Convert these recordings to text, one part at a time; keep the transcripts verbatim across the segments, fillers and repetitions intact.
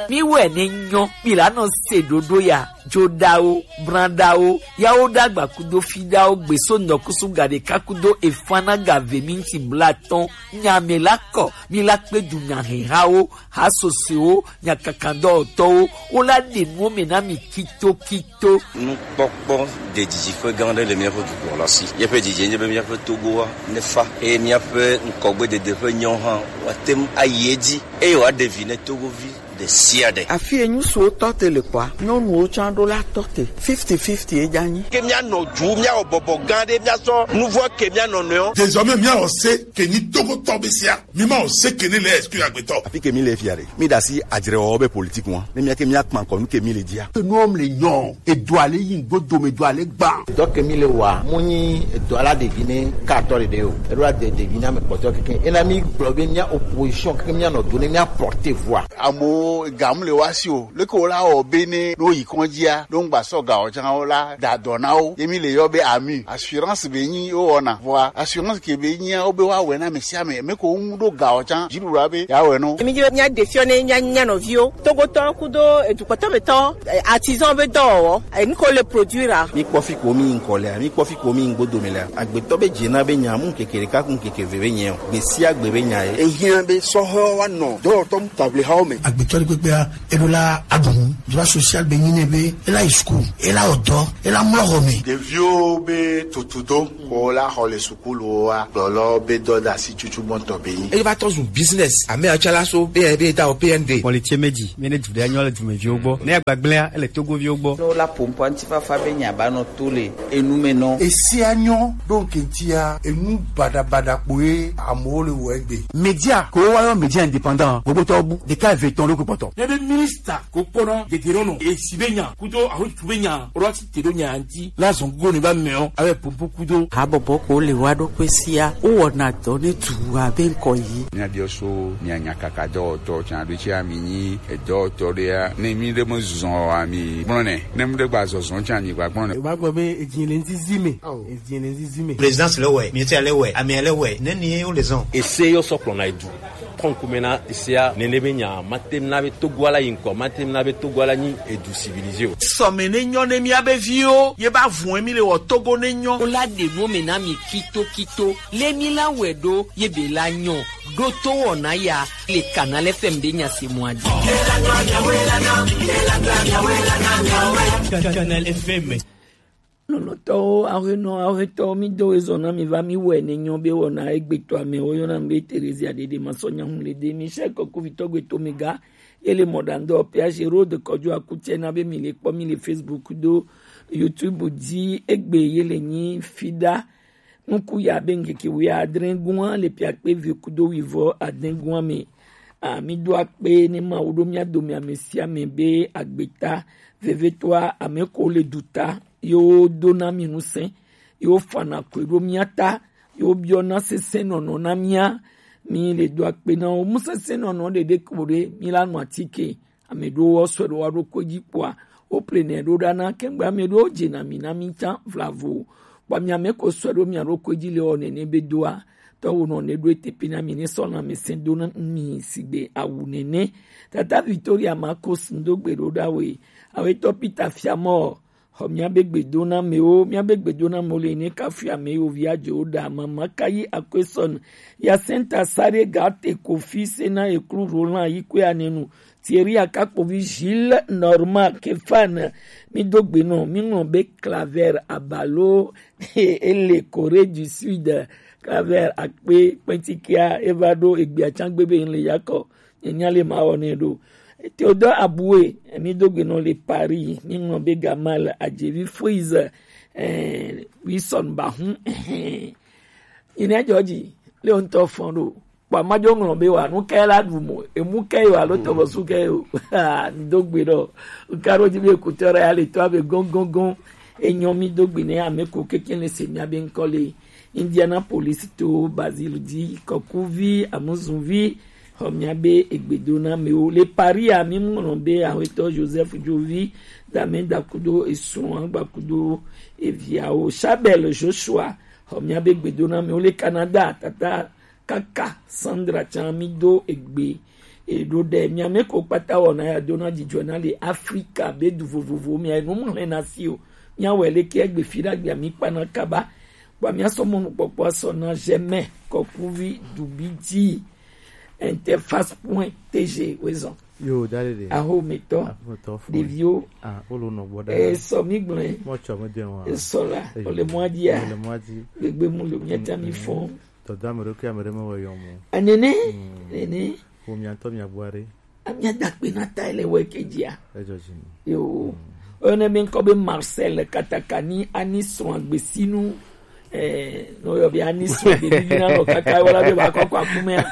Mi wɛ ne nyɔ, mi la nɔ se ɖoɖo ya, joɖawo, branɖawo, yawo ɖagba kudo fiɖawo, gbeso nɔkusu gaɖeka kudo efana gave minti blatɔn, nya me la kɔ, mi la kpe du nya hehawo, ha sosoewo, nya kakandɔwɔtɔwo, wo la ɖe nuwo me na mi kito kito. Nukpɔkpɔ ɖe didiƒe gã aɖe le míaƒe dukɔ la si. Míaƒe didi nye be míaƒe Togoa nefa eye míaƒe ŋkɔgbedede ƒe nyawo hã woate ŋu ayi edzi eye wòaɖe vi ne Togovi ɖe sia ɖe. Afi yi ŋutsuwo tɔ te le kɔa, nyɔnuwo tsã ɖo la tɔ te. Fifty fifty ye dza nyi. Ke míanɔ dzu, míawɔ bɔbɔ gã ɖe, míasɔ nuvɔ ke mía nɔnɔewo. Désormais, míawɔ se ke nyi Togotɔ be sia. Mi ma o se ke ne le excuse agbetɔ. Afi ke mi le fia ɖe, mi ɖe asi adzrewɔwɔ be politique ŋua. Ne mía ke mía kpa ŋkɔ nu ke mi le dzia. Ke nuwo le nyɔ, edo ale yi ŋgbo dome do ale gban. Dɔ ke mi le wa, mo nyi edo ala ɖevi ne ka atɔ ɖeɖe o. Eɖo la de ɖevi na me kpɔtɔ keke. Ena mi gblɔ be mía opposition keke mía nɔ do ne mía porter voix. Amewo ga mu le wa si o. Leke wo la wɔ be ne ɖo yi kɔndzia, ɖo ŋgba sɔ ga o tsã wo la da dɔ na wo. Ye mi le yɔ be ami. Assurance be nyi wo wɔna. Vɔa assurance ke be nyia wo be wa wɛ na ame sia ame. Me ko ŋu ɖo ga o tsã. Dziɖuɖua be ya wɛ no. Emi dzi be mía ɖe fiɔ ne mía nya nɔviwo. Togotɔ kudo edukpɔtɔ be tɔ, eh, artisan be dɔwɔwɔ. Eh, nu ko le produire a. Mi kpɔ fi ko mi ŋkɔ lea, mi kpɔ fi ko mi ŋgbo dome lea. Agbetɔ be dze na be nya mu keke ɖeka ku keke ve be nyɛ o. Gbe sia gbe be nya ye. Ehiã be sɔhɛwo wa nɔ dɔwɔtɔ mu table hawo me. Agbetɔ ɖe kpekpea, eɖo la aɖu nu. Droit social be nyi nɛ be ela yi school, ela wɔ dɔ, ela mlɔ xɔ me. Ɖeviwo be tutudo ko la xɔ le sukuluwo wa gblɔlɔ be dɔdasi tutu gbɔntɔ be nyi. Eva tɔ zu business. Ame atsala so be be da o P N D. Kpɔlitse meji, mi ne du ɖe anyɔ le dumeviwo gbɔ. Ne agbagblẽa, ele Togoviwo gbɔ. Ne wola ƒo ŋkɔ ŋutifafa be nya ba nɔ to le enu me nɔ. Esia nyɔ ɖo ŋkɛntia enu baɖabaɖa kpoe amewo le wɔ egbe. Media ko wa yɔ media indépendant, gbogbo tɔ bu ɖeka eve tɔn ɖo ko kpɔtɔ. Ne be minista ko kpɔna dedero nɔ, esi be nya kudo aho tu be nya, ro ti te ɖo nya ŋuti, la zɔn go ne ba mɛ o, abe pompo kudo. Habɔbɔ ko le wa ɖo kpe sia, wo wɔna dɔ ne tu abe ŋkɔ yi. Mía biɔ so mía nya kaka dɔwɔtɔ tsan ɖo tsi ami nyi edɔwɔtɔ ɖea, ne mi ɖe me zɔn o ami gblɔ nɛ, ne mi ɖe gba zɔzɔn tsan mi gba gblɔ nɛ. Ba gbɔ be edzi le ŋzizi me. Edzi le ŋzizi me. Présidence le wɛ, ministère le wɛ, amia le wɛ, ne ni ye wo le zɔn. Ese yɔ sɔ kplɔ na edu. Kɔnkume na esea nene be nya ma tem na be Togo ala yi ŋkɔ, ma tem na be Togo ala nyi edu civilisé o. Sɔme ne nyɔ ne mía be viwo, ye ba vun emi le wɔ Togo ne nyɔ. Wo la ɖe nuwo me na mi kito kito. Le mi la wɛ ɖo ye be la nyɔ. Ɖo to wɔna ya le Canal F M be nya se mɔ adi. Canal F M. Lɔlɔ̃tɔwo, aƒenɔ, aƒetɔwo, mi do ezɔ na mi va mi wɛ ne nyɔ be wɔna egbetɔ amewo yɔna mi be Terezia ɖeɖe ma sɔ nya ŋu le de mi sɛ kɔkuvitɔ gbetɔ mi ga ye le mɔɖaŋdɔ P H Road kɔdzo akutsɛ na be mi le kpɔ mi le Facebook do YouTube dzi egbe ye le nyi fiɖa. Nuku ya be ŋkeke wuiadre gua le piakpe ve kudo wuivɔ adre gua me. A, mi do akpe ne Mawu ɖo mía dome ame sia ame be agbeta vevetɔa ame ko le du ta yewo dona mi ŋusẽ, yewo fana koe ɖo mía ta, yewo biɔna sesẽnɔnɔ na mía. Mi le do akpe na wo. Mu sesẽnɔnɔ ɖeɖe ko ɖe mi la nu atike. Ame ɖewo wɔ sɔe ɖo wa ɖokui dzi kpɔa, wo plenɛ ɖo ɖa na kɛŋgbe ame ɖewo dze na mi na mi tsã vlavo. Kpɔ mi ame ko sɔe ɖo mia ɖokui dzi le wɔ nene be doa. Tɔwo nɔ ne ɖo etepe na mi ne sɔ lãmesẽ do na mi sigbe awu nene. Tata Victoria Marcos ŋdo gbe ɖo ɖa we. Awetɔ Peter Fiamɔ. Xɔ mía be gbedonamewo, mía be gbedonamewo le ne kafu ame yiwo via dze wo ɖa mama kayi akwesɔn. Yasenta sare gate kofi sena eklu Roland yi kwe anenu. Thierry Akakpovi Gilles Norma Kefan. Mi do gbe nɔ, mi ŋlɔ be Claver Abalo ele Corée du Sud. Claver akpe kpɛtikia eva ɖo egbea tsã gbe be ŋle yakɔ. Enya le ma wɔ nɛ ɖo. Théodore Aboué, mi do gbe nɔ le Paris, mi ŋlɔ be Gamal Adjevi Frise, eh, Wilson Bahun, eh, ina jɔji, le ŋutɔ fɔn ɖo. Kpa ma jo ŋlɔ be wa, nu kɛ la ɖu mo, emu kɛ yo alo tɔbɔsu kɛ yo. Ah, mi do gbe ɖo. Nka ɖo dzi be kutɔ ɖe ya le tɔ abe gɔngɔngɔn. Enyɔ mi do gbe ne ame ko keke le se mia be ŋkɔ le. Indianapolis to Bazil di kɔkuvi, amuzuvi, xɔ mia be egbedonamewo. Le Paris a, mi ŋlɔ be Aƒetɔ Joseph Jovi, dame dakudo esrɔ̃ agbakudo eviawo. Chabel Joshua, xɔ mia be egbedonamewo. Le Canada, tata kaka Sandra tsã mi do egbe. Eɖo ɖe mia mɛ ko kpata wɔna ya dona dzidzɔ na le Afrika be du vovovo mia nu mu hɛn na si o. Mia wɛ leke egbe fi ɖagbe mi kpana kaba. Kpa mia sɔ mɔnu kpɔkpɔ sɔ na jɛmɛ kɔkuvi dubi dzi. Interface point T G wezɔn. Yo, dale de. Aho metɔ. Aho metɔ fo. Ɖeviwo. Ah, olo nɔ gbɔ da. E sɔ mi gblẽ. Mo tsɔ me de wa. E sɔ la. Ole mwa dia. Ole mwa di. Gbegbe mu le mia ta mi fɔ. Tɔda ame ɖokui ame ɖe mewɔ yɔ mo. Enene. Nene. Wo mia ŋutɔ mia gbɔ aɖe. Amia dakpe na ta le wɔ ke dzia. Edzɔ dzi mi. Yo. Oyɔnɛ mi ŋkɔ be Marcel Katakani ani srɔ̃ agbesinu. Eh, no yɔ be ani srɔ̃ agbesinu na lɔ kaka wala be ba kɔkɔ akumea.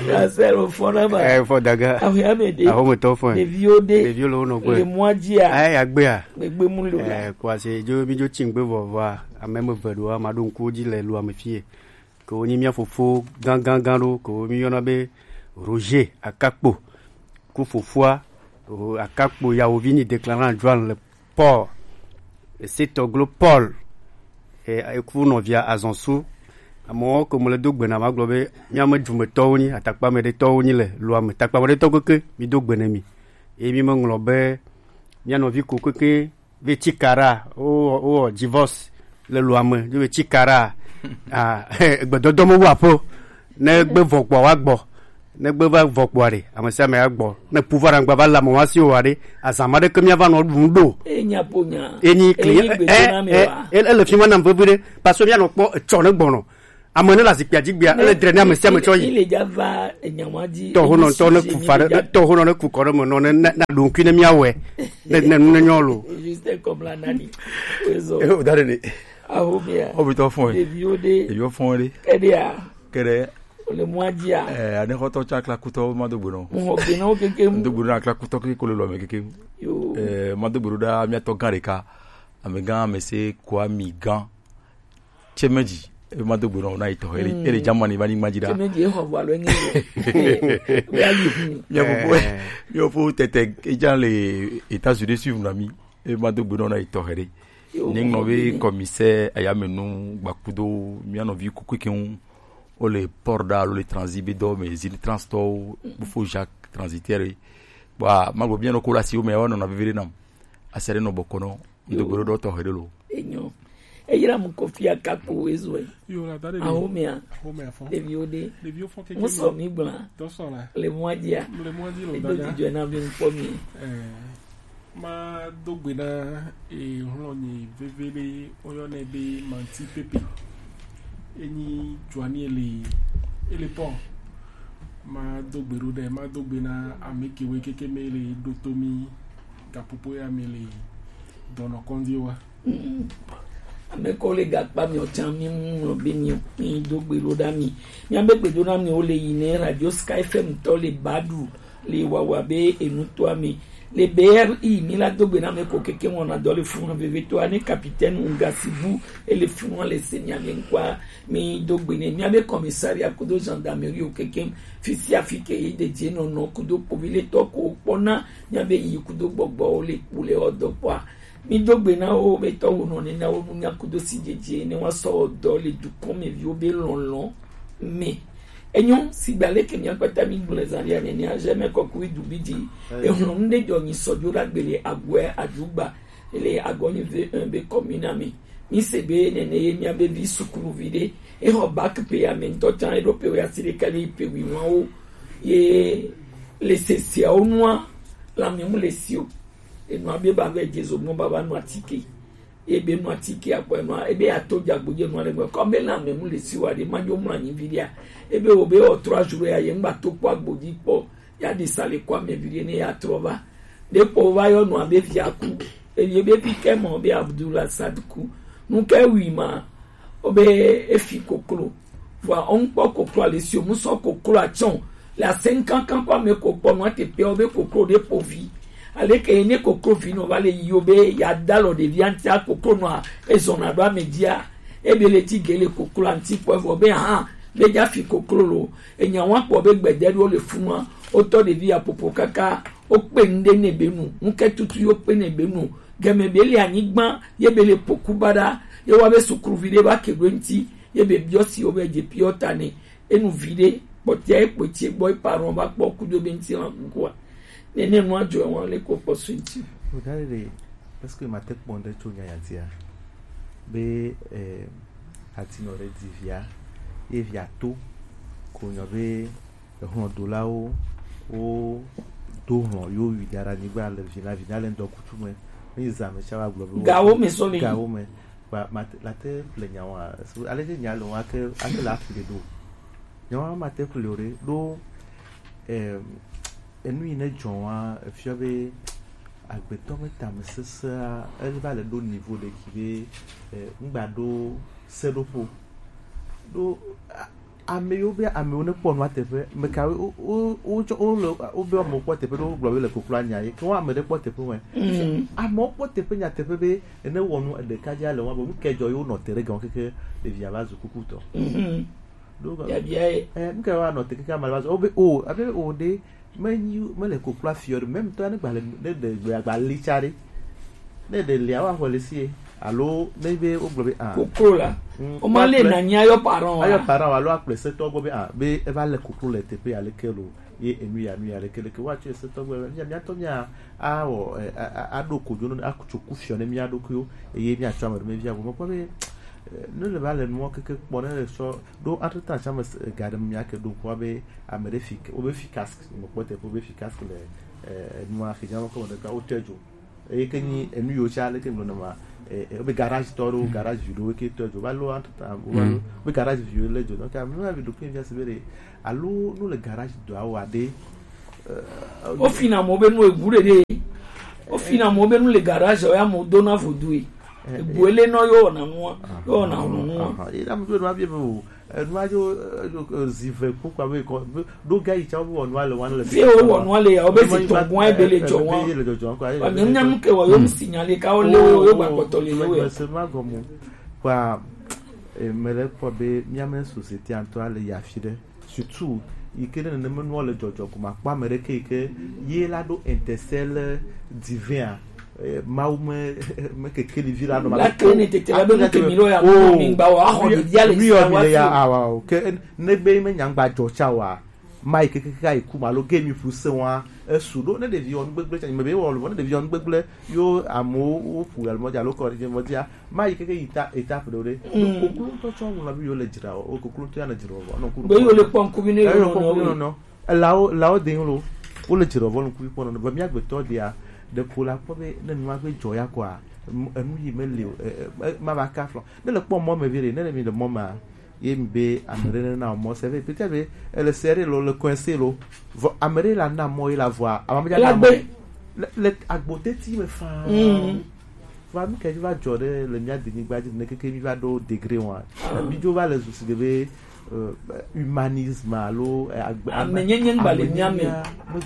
Marcel o fɔ na ma. Eh, fɔ daga. Ahu ya me de. Ahu me tɔ fɔ. Ɖeviwo de. Ɖeviwo le wo nɔ gbe. Le mwa dzia. Ai agbea. Gbegbe mu lo la. Eh, kwa se jo mi jo tsingbe vɔvɔa. Ame me ve ɖo ama ɖo ŋku dzi le lu ame fie. Ke wonyi mía fofo gãgãgã ɖo, ke wo míyɔna be Roger Akakpo. Ku fofoa, o, Akakpo yawovi nyi déclarant Joan le Paul. Esetɔglo Paul. E, eku nɔvia Azɔnsu. Amewo ke mo le do gbe na magblɔ be mía me dumetɔwo nyi, atakpa me ɖetɔwo nyi le loa me. Takpa me ɖetɔ keke, mi do gbe ne mi. Eye mi me ŋlɔ be mía nɔvi ko keke ve tsi kara, wo, wo divorce le loa me, ye ve tsi kara. Ah, gbedɔdɔ me wu aƒe. Ne gbe vɔ gbɔ wa gbɔ. Ne gbe va vɔ gbɔ ɖe, ame sia ame agbɔ. Ne pouvoir angba va le ame wa si o wa ɖe, azama ɖe ke mía va nɔ ɖu ŋu ɖo. E nya po nya. Eni kli, e, e, e, e le fi ma nam vevi ɖe, parce que mía nɔ kpɔ etsɔ ne gbɔnɔ. Ame ne le azikpia dzi gbea, ele dre ne ame sia ame tsɔ yi. Ile dza va enya wa dzi. Tɔhonɔ ŋutɔ ne ku fa ɖe, tɔhonɔ ne ku kɔ ɖe me nɔ ne na, na ɖo ŋkui ne míawɔe. Ne, ne nu ne nyɔ lo. Juste comme la nani. Ezo. Eh, o da ɖe ɖe. Aho mea. O bi tɔ fɔn. Ɖeviwo ɖe. Ɖeviwo fɔn ɖe. Keɖea. Keɖe. O le mwa dzia. Eh, ane xɔtɔ tsa klakutɔ ma do gbe nɔ. Mo xɔ gbe nɔ keke. Do gbe nɔ klakutɔ keke ko le lɔ me keke. Yo. Eh, ma do gbe ɖo ɖa mía tɔ gã ɖeka. Amegã ame se kua mi gã. Tsemeji, ebe ma do gbe nɔ na yi tɔxɛ ɖe. Mm. Ele Germany va nyigba dzi ɖa. Tsemeji exɔ ʋu alo enye o. Wea yi hu. Mía fofo, eh, mía fofo tete edza le États-Unis suivre na mi. Ebe ma do gbe nɔ na yi tɔxɛ ɖe. Yo, nye ŋlɔ be commissaire ayamenu gbakudo mía nɔvi kuku ke ŋu. Wo le port ɖa alo le transit be dɔ me zini transtɔwo. Bufo Jacques transitaire. Bon, ma gbe mía nɔ ko la si wo me wa nɔ na vevere nam. Ase ɖe nɔ bɔkɔ nɔ. Ŋdo gbeɖoɖo tɔxɛ ɖe lo. Enyo. Eyra mu Kofi Akakpo ezɔe. Yo, la da ɖe. Ahomea. Ahomea fɔ. Ɖeviwo ɖe. Ɖeviwo fɔ keke. Musɔ mi gbla. Dɔsɔ la. Le mɔa dzia. Le mɔa dzi lo. Edo dada. Dzidzɔe na mi ŋkpɔ mi. Eh, ma do gbe na, eh, hlɔnyi veve ɖe, woyɔnɛ be Manti Pepe. Enyi Joanie le, ele pɔ. Ma do gbe ɖo ɖe, ma do gbe na ame kewe keke me le ɖo to mi. Gaƒoƒo ya me le dɔnɔkɔdzi wa. Mm. Ame ko le gakpa mi ocan mi mu be mi mi do gbe ɖo ɖa mi. Mi abe gbe ɖo na mi o le yi ne Radio Sky F M tɔ le badu le wawa be enu to ami. Le B R I mi la do gbe na me ko keke mo na dɔ le fun veve to ane capitaine Ungasibu e le fun le se mi ame nkwa mi do gbe ne mi abe commissariat kudo gendarmerie o keke fisia fike yi de je no no kudo povi le to ko pona. Míabe yi kudo gbɔgbɔwo le kpu le ɔ dɔ kpɔa. Mi do gbe na wo be tɔwo nɔ ne na wo nu nya kudo si dzedze ne wa sɔ dɔ le dukɔn me viwo be lɔlɔn me. Enyo sigba leke mia kpata mi gblẽ zan ya ne ne aje me kɔkui du bi di. Ehun nu de jɔ nyi sɔ jo la gbele agwe adugba. Ele agɔ nyi ve un be commune me. Mi se be nene ye mia be vi sukulu vi de. E ho bac pe ya me ntɔ tan e do pe ya si de kale pe wi wan o. Ye le se sia o nua la mi mu le si o. E nua be ba ve jezo mo baba nua tike. Ye be nua tike akpɔ e nua e be ya to jagbo je nua le mo ko be la mi mu le si wa de ma jo mu anyi vi dia. E be o be o trois jours ya ye ngba to kpɔ agbo di kpɔ. Ya ɖi sa le kɔ ame vi ɖe ne ya trɔ va. Ɖe kpɔ va yɔ nɔ abe via ku. Evi be vi ke mɔ be Abdullah Sad ku. Nu ke wi ma. O be efi koklo. Vɔa o ŋkpɔ koklo ale si o mu sɔ koklo atsɔn. Le ase nkankan kɔ ame ko kpɔ nɔ te pe o be koklo ɖe kpo vi. Ale ke ne koklo vi nɔ va le yi o be ya da lɔ ɖevi antia koklo nɔ ezɔna ɖo ame dia. Ebe le ti ge le koklo anti kpɔ vɔ be hã be ja fi koklo lo. Enya wa kpɔ be gbede ɖo le funua. Wotɔ ɖevi ya popo kaka. Wokpe nu ɖe nɛ be nu. Nu ke tutu yo kpe nɛ be nu. Gɛmɛ be le anyigba ye be le poku baɖa. Ye wa be sukluvi ɖe va ke ɖo ŋti. Ye be biɔ si wo be dze piɔ ta nɛ. Enu vi ɖe. Kpɔtia ye kpɔti gbɔ ye parent va kpɔ kudo be ŋuti la kukua. Nene nua dzɔ wa le ko kpɔ so ŋuti. Wodari ɖe, est-ce que mate kpɔ ŋɖe tso nya ya ŋutia? Be, eh, atinɔ ɖe di via, ye via to, ko nyɔ be ehlɔdolawo wo do hlɔ yo wi da ɖe anyigba le vi na vi na le ŋdɔ kutu me. Ne yi zã me tsa wa gblɔ be wo gawo me sɔ le yi. Gawo me. Kpa mate, la te ƒle nya wa. So, ale ke nya le wa ke, ake la ƒle ɖo. Nya wa ma te ƒle o ɖe. Ɖo, em, enu yi ne dzɔ wa, efiɔ be agbetɔ me tame sesea, ele va le ɖo niveau ɖe ki be, eh, ŋgba ɖo seɖoƒo. Ɖo, a-, ame yiwo be amewo ne kpɔ nua teƒe, meka wo, wo, wo, wotsɔ, wo le, wo be amewo kpɔ teƒe ɖo, wo gblɔ be le koklo anya ye. Ke wo ame ɖe kpɔ teƒe wɛ. Mm. Amewo kpɔ teƒe nyateƒe be ene wɔ nu ɖeka dzi ale wa be nu ke dzɔ ye wonɔ te ɖe gan keke ɖevia va zu kukutɔ. Mhm. Ɖo ga- Biabia ye. Eh, nu ke wa nɔ te keke ame va zu. O be o, abe o ɖe, me nyi, me le koklo afiɔ ɖe, même tɔ ne gba le, ne ɖe gbe agba li tsa ɖe. Ne ɖe lia wa xɔ le sie. Alo ne be wo gblɔ be, ah. Koklo la. Mm, o ma le akple- na nya yo parent wa. Ayo parent wa, alo akple setɔ gbɔ be, ah, be eva le koklo le teƒe ya leke lo. Ye enu ya, nu ya leke leke wa tso setɔ gbɔ. Mia, mia tɔ mia awɔ, eh, a, a, aɖo kodzo no, atso kufiɔ ne mia ɖokuiwo, eye mia tsɔ ame ɖe me via. Vɔ mekpɔ be, eh, ne le va le nuwo keke kpɔ, ne le sɔ ɖo entre temps tsã me se-, ga ɖe mia ke ɖo ŋkua be ame ɖe fi ke, wo be fi casque, mekpɔ teƒe wo be fi casque le, eh, enua xidza me kɔ me ɖeka, wo tɛ dzo. Eye ke nyi enu yiwo tsã leke ŋgblɔ ne ma, eh, eh, wo be garage tɔ ɖewo, garage vi ɖewo ke tɔ dzo, va lo entre temps, wo va lo, wo be garage viwo le dzo. Donc, ame ma vi ɖo ke via se be ɖe, alo no le garage dɔa wa ɖe, eh, wo fina mo be nu egu ɖe ɖe. Wo fina mo be nu le garage o ya mo do na vodue. Eh, egu ele no yo na nua, yo na nua. Aha, e na mo be no abie be o. Enua yo, eh, yo, eh, zi ve kpukpua be kɔ, be, ɖo ga yi tsa wo wɔ nua le wa le. Fi wo wɔ nua le ya, wo be zi tɔn gɔn ebe le dzɔ wa. Ebe le dzɔdzɔ kɔ, ayi. Wa nyam nyam ke wa yo mi signale ka wo le wo, yo gba kpɔtɔ le le we. Mese ma gɔmu. Kwa, eh, me le kpɔ be mia me société ŋutɔ le ya fi ɖe. Surtout, yi ke ne nene me nua le dzɔdzɔ ko ma kpɔ ame ɖe ke yi ke ye la ɖo intercelle divin a. Eh, Mawu me, me keke ɖevi la nɔ ma. La ke ne tete la be nu ke mi lo ya, oh, mi gba wa xɔ ɖevia le mi sia wa le ya, awa, o. Ke ne be me nya gba dzɔ tsa wa, ma yi keke ka yi ku ma lo ge mi ƒu se wa, esu ɖo ne ɖevi wɔ nu gbegble tsa, me be wɔ lo, ne ɖevi wɔ nu gbegble, yo amewo wo ƒu ya lo mɔ dzi alo kɔ ɖe mɔ dzia, ma yi keke yi ta, étape ɖo ɖe. Mm. Koklo ŋutɔ tsɔ ŋlɔ bi yo le dzra o, koklo ŋutɔ ya le dzra o, nɔ ku. Be yo le kpɔ ŋku bi ne yo nɔ nɔ. Elawo, elawo de lo, wo le dzre vɔ nuku kpɔ nɔ, be mía gbetɔ dia, ɖeko la kpɔ be ne nua gbe dzɔ ya kɔa, m-, enu yi me le o, e, e, e, ma va ka flɔ. Ne le kpɔ mɔ me vi ɖe, ne le mi le mɔ ma, ye mi be ame ɖe ne na mɔ se ve, peut-être be, ele serré lo, le coincé lo, vɔ ame ɖe la na mɔ ye la vɔa, ama me dza na mɔ. Le, le agbo teti me faa. Mm. Va nu ke va dzɔ ɖe le mía denyigba dzi ne keke mi va ɖo degré wa. Mi dzo va le zu si be, euh, humanisme alo, euh, agbe-, amenyenye ŋgba le mía me.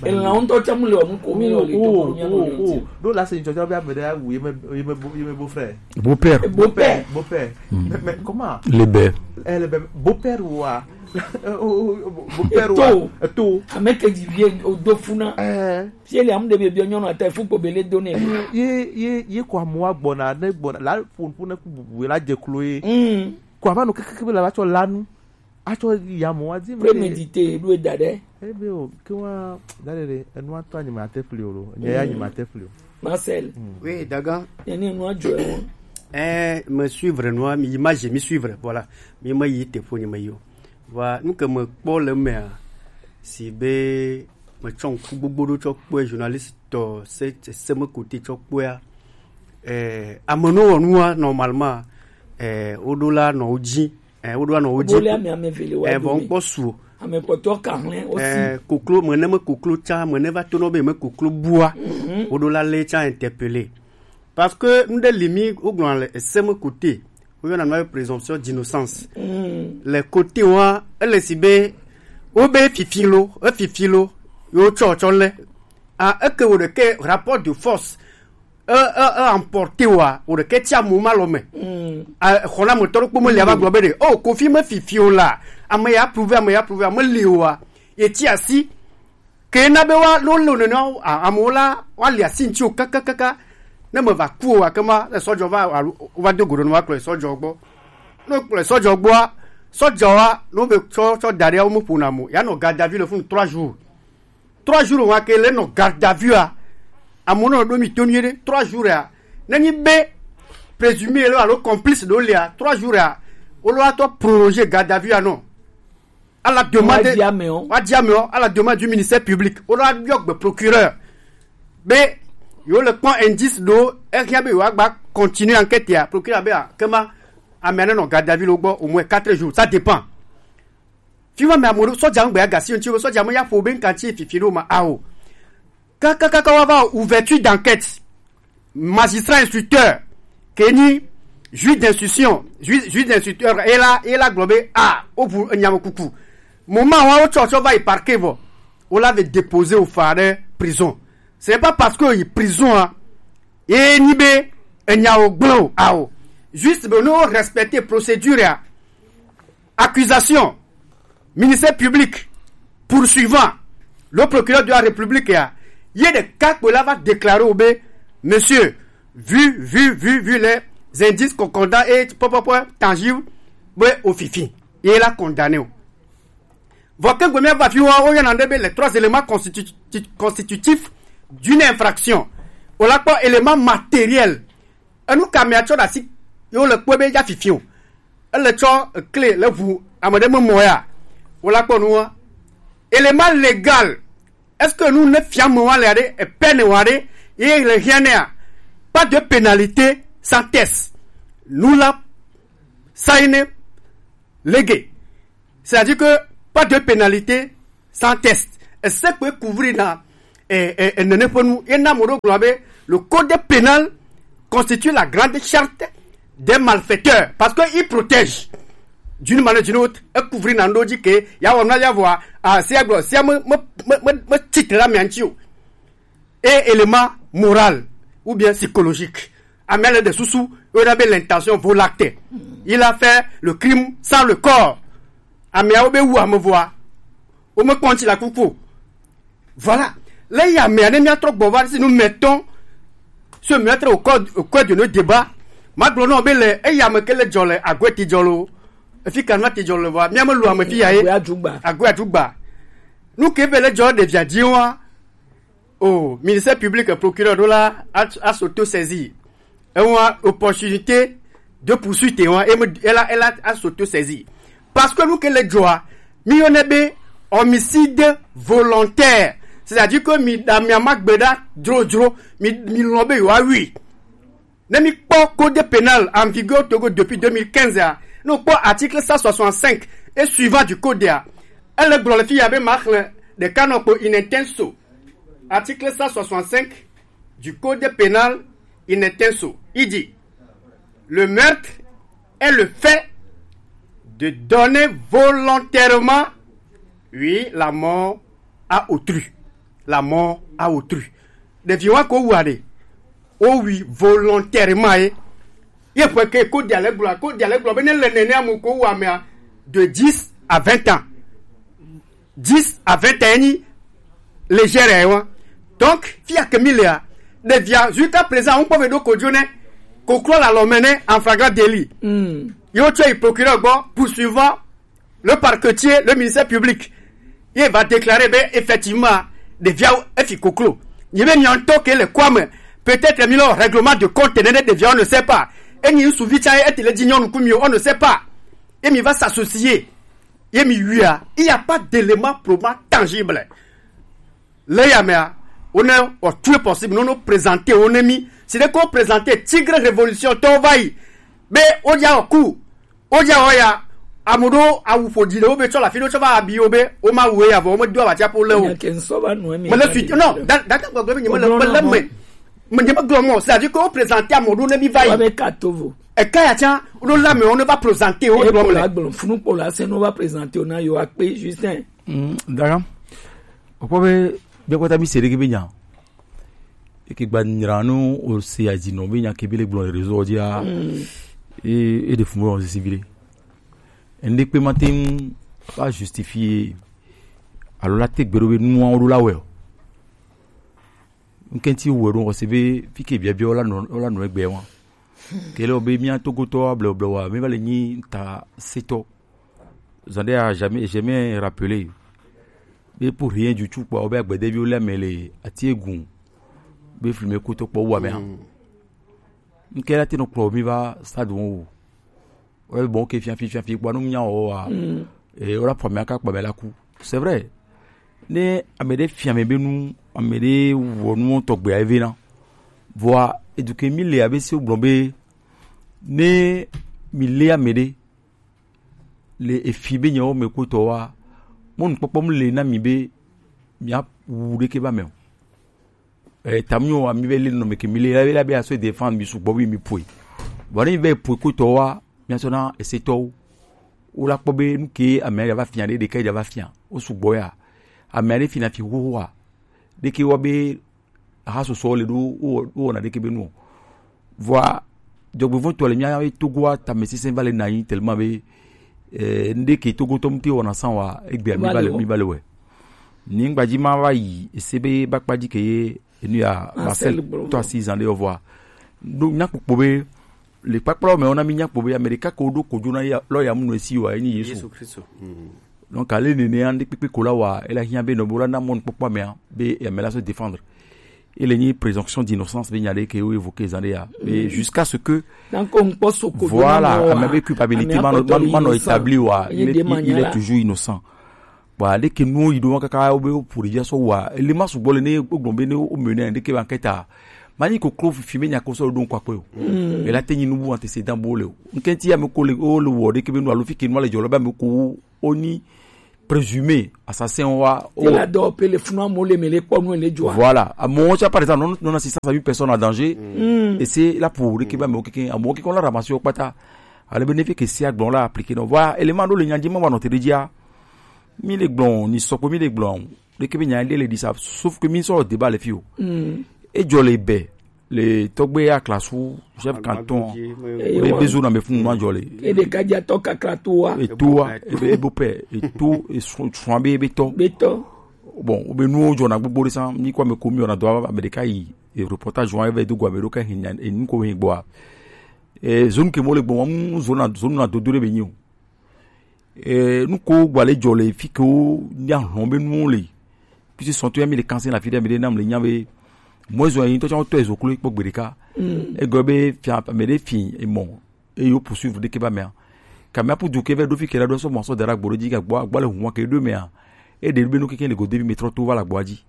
Elã ŋutɔ tsɛ mu le wɔ nu ko mi le wɔ le to ko mía me. Ɖo la se ŋtsɔ be ame ɖe awu ye me, ye me bo, ye me beau-frère. Beau-père. Beau-père. Beau-père. Mais, mais comment? Le bɛ. Eh, le bɛ, beau-père wa. Beau-père wa. Eto. Eto. Ame ke dzi vie o do funa. Eh. Fie le amu ɖe biɔ nyɔnu ata fu kpo bele do nɛ. Ye, ye, ye ko amewo gbɔna, ne gbɔna, la ƒo ƒu ne ku bubu la dze klo ye. Mm. Ko ava nɔ kekeke be la va tsɔ la nu. Atsɔ yi amewo adi me. Prémédité, ɖo da ɖe. Ebe o, ke wa, da ɖe ɖe, enua tɔ anyi ma te ƒli o lo. Nye ya nyi ma te ƒli o. Marcel. Mm. Oui, daga. Ye ne nua dzɔ ewo. Eh, me suivre nua, mi image, mi suivre, voilà. Mi me yi te ƒo ni me yo. Voilà, nu ke me kpɔ le mea, si be metsɔ ŋku gbogbo ɖo tsɔ kpɔe, journaliste tɔ, se, se, seme kote tsɔ kpɔea, eh, ame no wɔ nua, normalement, eh, woɖo la nɔ wo dzi, eh, woɖo la nɔ wo dzi. Wo le ame, ame eve le wa eh, vɔ dome. Ŋkpɔ su o. Ame kpɔtɔ ka hlẽ wo si. Eh, koklo, me ne me koklo tsa, me ne va to nɔ be me koklo bua, mhm, woɖo la le tsa interpellé. Parce que ŋɖe li mi, wogblɔna le eseme kote, woyɔna nua be présomption d'innocence. Mm. Le kote wa, ele si be, wobe fifi lo, efifi lo, yo tsɔ tsɔ le. A, eke wo ɖeke rapport de force, e, e, e emporté wa, wo ɖeke tsi amu ma lɔ me. Mm. A, xɔna me tɔ ɖo kpɔ me li ava gblɔ be ɖe, oh, Kofi me fifi o la, ame ya approuvé, ame ya approuvé, ame li o wa, ye tsi asi. Ke na be wa, lo, lo, nene, a, amewo la, wa li asi ŋuti o kakakaka. Ne me va ku o, gake ma, le sɔdzɔ va, alo, wova do go ɖe nu, wa kplɔ le sɔdzɔ gbɔ. Ne kplɔ le sɔdzɔ gbɔa, Sɔjawa no be tsɔ tsɔ da ɖe wo me ƒona mo. Ya nɔ garde à vue le funu trois jours. Trois jours wa ke le nɔ garde à vue a. Amewo nɔ ɖo mi to nyuie ɖe trois jours a. Ne nyi be présumé le alo complice ɖo lia trois jours a. Wo lo atɔ prolonger garde à vue a nɔ. À la demande, Wa di amewo. Wa di amewo, à la demande du ministère public. Wo lo abiɔ gbe procureur. Be yo le kpɔ indice ɖo, ehia be yo agba continuer enquête ya. Procureur be a kema amea ne nɔ garde à vue lo gbɔ au moins quatre jours, ça dépend. Fi ma me amewo sɔja ŋgbe agasi ŋuti wo sɔja me ya ƒo be ŋkanti fifi ɖo ma ao. Kakakaka wa va ouverture d'enquête. Magistrat instructeur ke nyi juge d'instruction, juge juge d'instructeur ela ela gblɔ be a wobu enyame kuku. Moment wa wotsɔ tsɔ va yi parquet vɔ, wo la ve déposer wo fa ɖe prison. C'est pas parce que yi prison a ye nyi be enyawo gblẽ o ao. Juste be ne wo respecter procédure a. Accusation, ministère public, poursuivant, le procureur de la République ya, ye ɖeka kpoe la va déclarer wo be, monsieur, vu vu vu vu les indices concordants et pɔpɔpɔ tangible, be ofifi ye la condamné o. Vɔ ke gbe mía va fi wa wo yɔna ɖe be les trois éléments constitu- constitutifs d'une infraction. O la kpɔ élément matériel. Enu ka mea tsɔ ɖe asi ye wo le kpɔe be ya fifi o. Ele tsɔ ekle le ʋu ame ɖe me mɔ ya. Wo la kpɔ nua. Élément légal. Est-ce que nu ne fia me wa le aɖe, peine wa ɖe, ye le hiã nea? Pas de pénalité sans test. Nu la saine lege. C'est-à-dire que pas de pénalité sans test. Et ce que couvrir na eh, eh, eh, nene ƒe nu ye na mo ɖo gblɔ be le code pénal constitue la grande charte des malfaiteurs parce que il protège d'une manière ou d'une autre, e couvrir na ndo dzi ke ya wɔ na ya vɔa a sia gblɔ sia me me me me me titre la mianti o. Et élément moral ou bien psychologique. Amea le de susu, on a l'intention voue l'acte. Il a fait le crime sans le corps. Ameawo be wu ame vɔa, wo me kpɔn ti la kuku o. Voilà. Le ya mea ne mia trɔ gbɔ va si nu mɛtɔn, ce meurtre au cœur au cœur de nos débats. Ma gblɔ nɔ be le eya me ke le dzɔ le agoe ti dzɔ lo. Efi kan ma ti dzɔ le vɔa, mia me lu ame fi ya ye. Agoe adzugba. Agoe adzugba. Nu ke be le dzɔ ɖevia dzi wa. Oh, ministère public, procureur ɖo la a, a s'auto-saisir. Ewa opportunité de poursuite ewa e me elle a, elle a, a s'auto-saisir. Parce que nous que le joie, mi yone be homicide volontaire. C'est-à-dire que mi da mi ama gbeda dro dro, mi mi lɔn be yo a oui. Ne mi kpɔ code pénal en vigueur au Togo depuis deux mille quinze a, nous kpɔ article cent soixante-cinq et suivant du code a. Elle est glorifiée avec marque de canopé in intenso. Article cent soixante-cinq du code pénal in intenso. Il dit, le meurtre est le fait de donner volontairement, oui, la mort à autrui. La mort à autrui. Ɖevi wa ko wu aɖe. O wi volontairement ye. Ye ƒe ke ko dia le gblɔ, ko dia le gblɔ be ne le nene amu ko wu amea de dix à vingt ans. Dix à vingt ans ni légère ye wa. Donc, fi ya ke mi le a, ɖevia jusqu'à présent on peut vedo kojo ne koklo la lɔme ne en flagrant délit. Mm. Yo tsɔ yi procureur gbɔ poursuivant le parquetier, le ministère public, il va déclarer ben effectivement ɖevia efi koklo. Ni be mi en tant que le quoi me peut-être mi le règlement de compte ne ɖevia on ne sait pas. Et ni suvi cha et le dignon ku mi on ne sait pas. Et mi va s'associer. Et mi oui, il n'y a pas d'élément probant tangible. Le ya mea, on est au tout possible, non, non, présenter, on est mis. C'est de quoi présenter, tigre révolution, ton vaille. Mais on y a au coup. O dza wɔ ya, ame ɖewo awu ƒo dzi ɖewo be tsɔ le afi ɖewo tsɔ va abi wo be woma wu ya vɔ wome do abatsia ƒo le o. Nya ke ŋsɔ va nɔ eme. Mele suite non, da da ka gbɔgblɔ be nyemele mele me. Me nyemegblɔ mɔ, c'est-à-dire que wo présenter ame ɖewo ne mi va yi. Wa be ka to vo. Eka ya tsã, wo la me wo ne va présenter wo gblɔ me. Kpola gblɔ funu kpola se no va présenter wo na yo akpe Justin. Mm, d'accord. Okpɔ be be kɔta mi se ɖe ke be nya. Eke gba nyra nu o se azinɔ be nya ke be le gblɔ le réseau dzia. Mm. E e de fumɔ sisi bi le. Ende kpe ma te ŋu va justifier alo la te gbe ɖo be nuawo ɖo la wɛ o. Ŋkɛnti wɛ ɖo ɔse be fi ke biabia wo la nɔ wo la nɔ egbe wa. Ke le be mia togotɔ bleble wa mi va le nyi ta setɔ. Zande a jamais, jamais rappelé. Be pour rien du tout, quoi. Obe agbede bi o le mele, ati egun. Be filme kuto kpo wa me. Nke la ti nɔ kplɔ mi va stade wo. Wo le bɔ ke fiafi fiafi kpɔ nu nya o wa. E wo la pɔ mi aka kpɔ mi la ku. C'est vrai. Ne ame ɖe fia mi be nu, ame ɖe wɔ nu tɔgbe a eve na. Vɔa eduke mi le abe se gblɔ be ne mi le ame ɖe le efi be nyawo me kpotɔ wa, mo nukpɔkpɔ mu le na mi be mi a wu ɖeke ba me o. Eh, tamnyo ami be le nɔ me ke mi le la be la be aso défendre mi sugbɔ bi mi poe. Bon, ne mi be poe ko tɔ wa, mi aso na ese tɔ. O la kpɔ be nu ke ame ya va fia de de ke ya va fia. O sugbɔ ya. Ame de fina fi ho wa. De ke wa be ha so so le do o o na de ke be nu. Vɔa, jɔgbevɔntɔ le mía Togoa tamesesẽ va le na yi tellement be, eh, nde ke Togo tɔm te wɔna san wa, egbea mi va le, mi va le wɛ. Ni ŋgbadzi ma va yi, ese be bakpadzi ke ye, enu ya, Marcel Marcel Blongo. To asi zan de yɔ vɔa. Do nya kpokpo be, le kpakpla me ona mi nya kpokpo be, Amerika ko do kojo na ya, lɔ ya mu no esi wa, eni Yesu. Yesu Kristo. Donc, ale nene ande kpekpe ko la wa, ela hiã be nɔ bo la na mɔnu kpɔkpɔ mea, be ame la se défendre. Il y a une présomption d'innocence, be nya de ke o évoqué zande ya. Mais jusqu'à ce que, Donc, on peut se copier voilà, même, ame be culpabilité, ame mano, akɔtɔ mano, mano innocent. Établi wa, Ye il est, de il, il est manière. Toujours innocent. Voilà, dès que nous, il doit kaka, o be o pour dire so wa, le ma su bole ne, o gombe ne, o mene, dès que enquête a, mani ko klo fi me nya ko so do nkwa ko. Et là, tenir nous antécédent bole. Nkenti ya me ko le, o le wo, dès que nous allons fi ke nous le jolo ba me ko, oni présumé assassin wa. Te la dɔ pe le funu amo le me le kpɔ nu le joa. Voilà. À mon chat, par exemple, non, non assistance à une personne en danger. Et c'est là pour récupérer mon quelqu'un, à mon quelqu'un la ramassé au pata. À le bénéfice que c'est à blanc la appliqué. Donc voilà, élément de l'union, dis-moi, va notre dia. Mille blancs, ni soko mille blancs. Le Québécois, il est dit ça. Sauf que mille sont au débat, les filles. Et je les bais. Le togbe ya classe ou chef canton. Be bezo na me fun ma jole. E de ka ja to kakla to wa. E to wa, e be e bo pe, e to e so so be be to. Be to. Bon, o be nu o jona gbogbo de san, ni kwa me komi ona do Amerika yi. E reportage wa e be do gwa me do ka hin e ni ko hin gbo a. E zone ke mo le gbo mu zone na zone na do do de be ni o. Eh, nu ko gba le jɔ le fi ke wo nya hlɔn be nu le. Puisque sɔn to ya mi le kanse la fi de mi de nam le nya be. Mo zo yin to cha to ezo klo kpo gbede ka. E go be fia me de fi e mo. E yo poursuivre de ke ba me. Ka me pour du ke ve do fi ke la do so mo so dara gboro ji ga gbo gbo le hu ke do me a. E de be nu ke ke le go de bi me tro to va la gbo ji.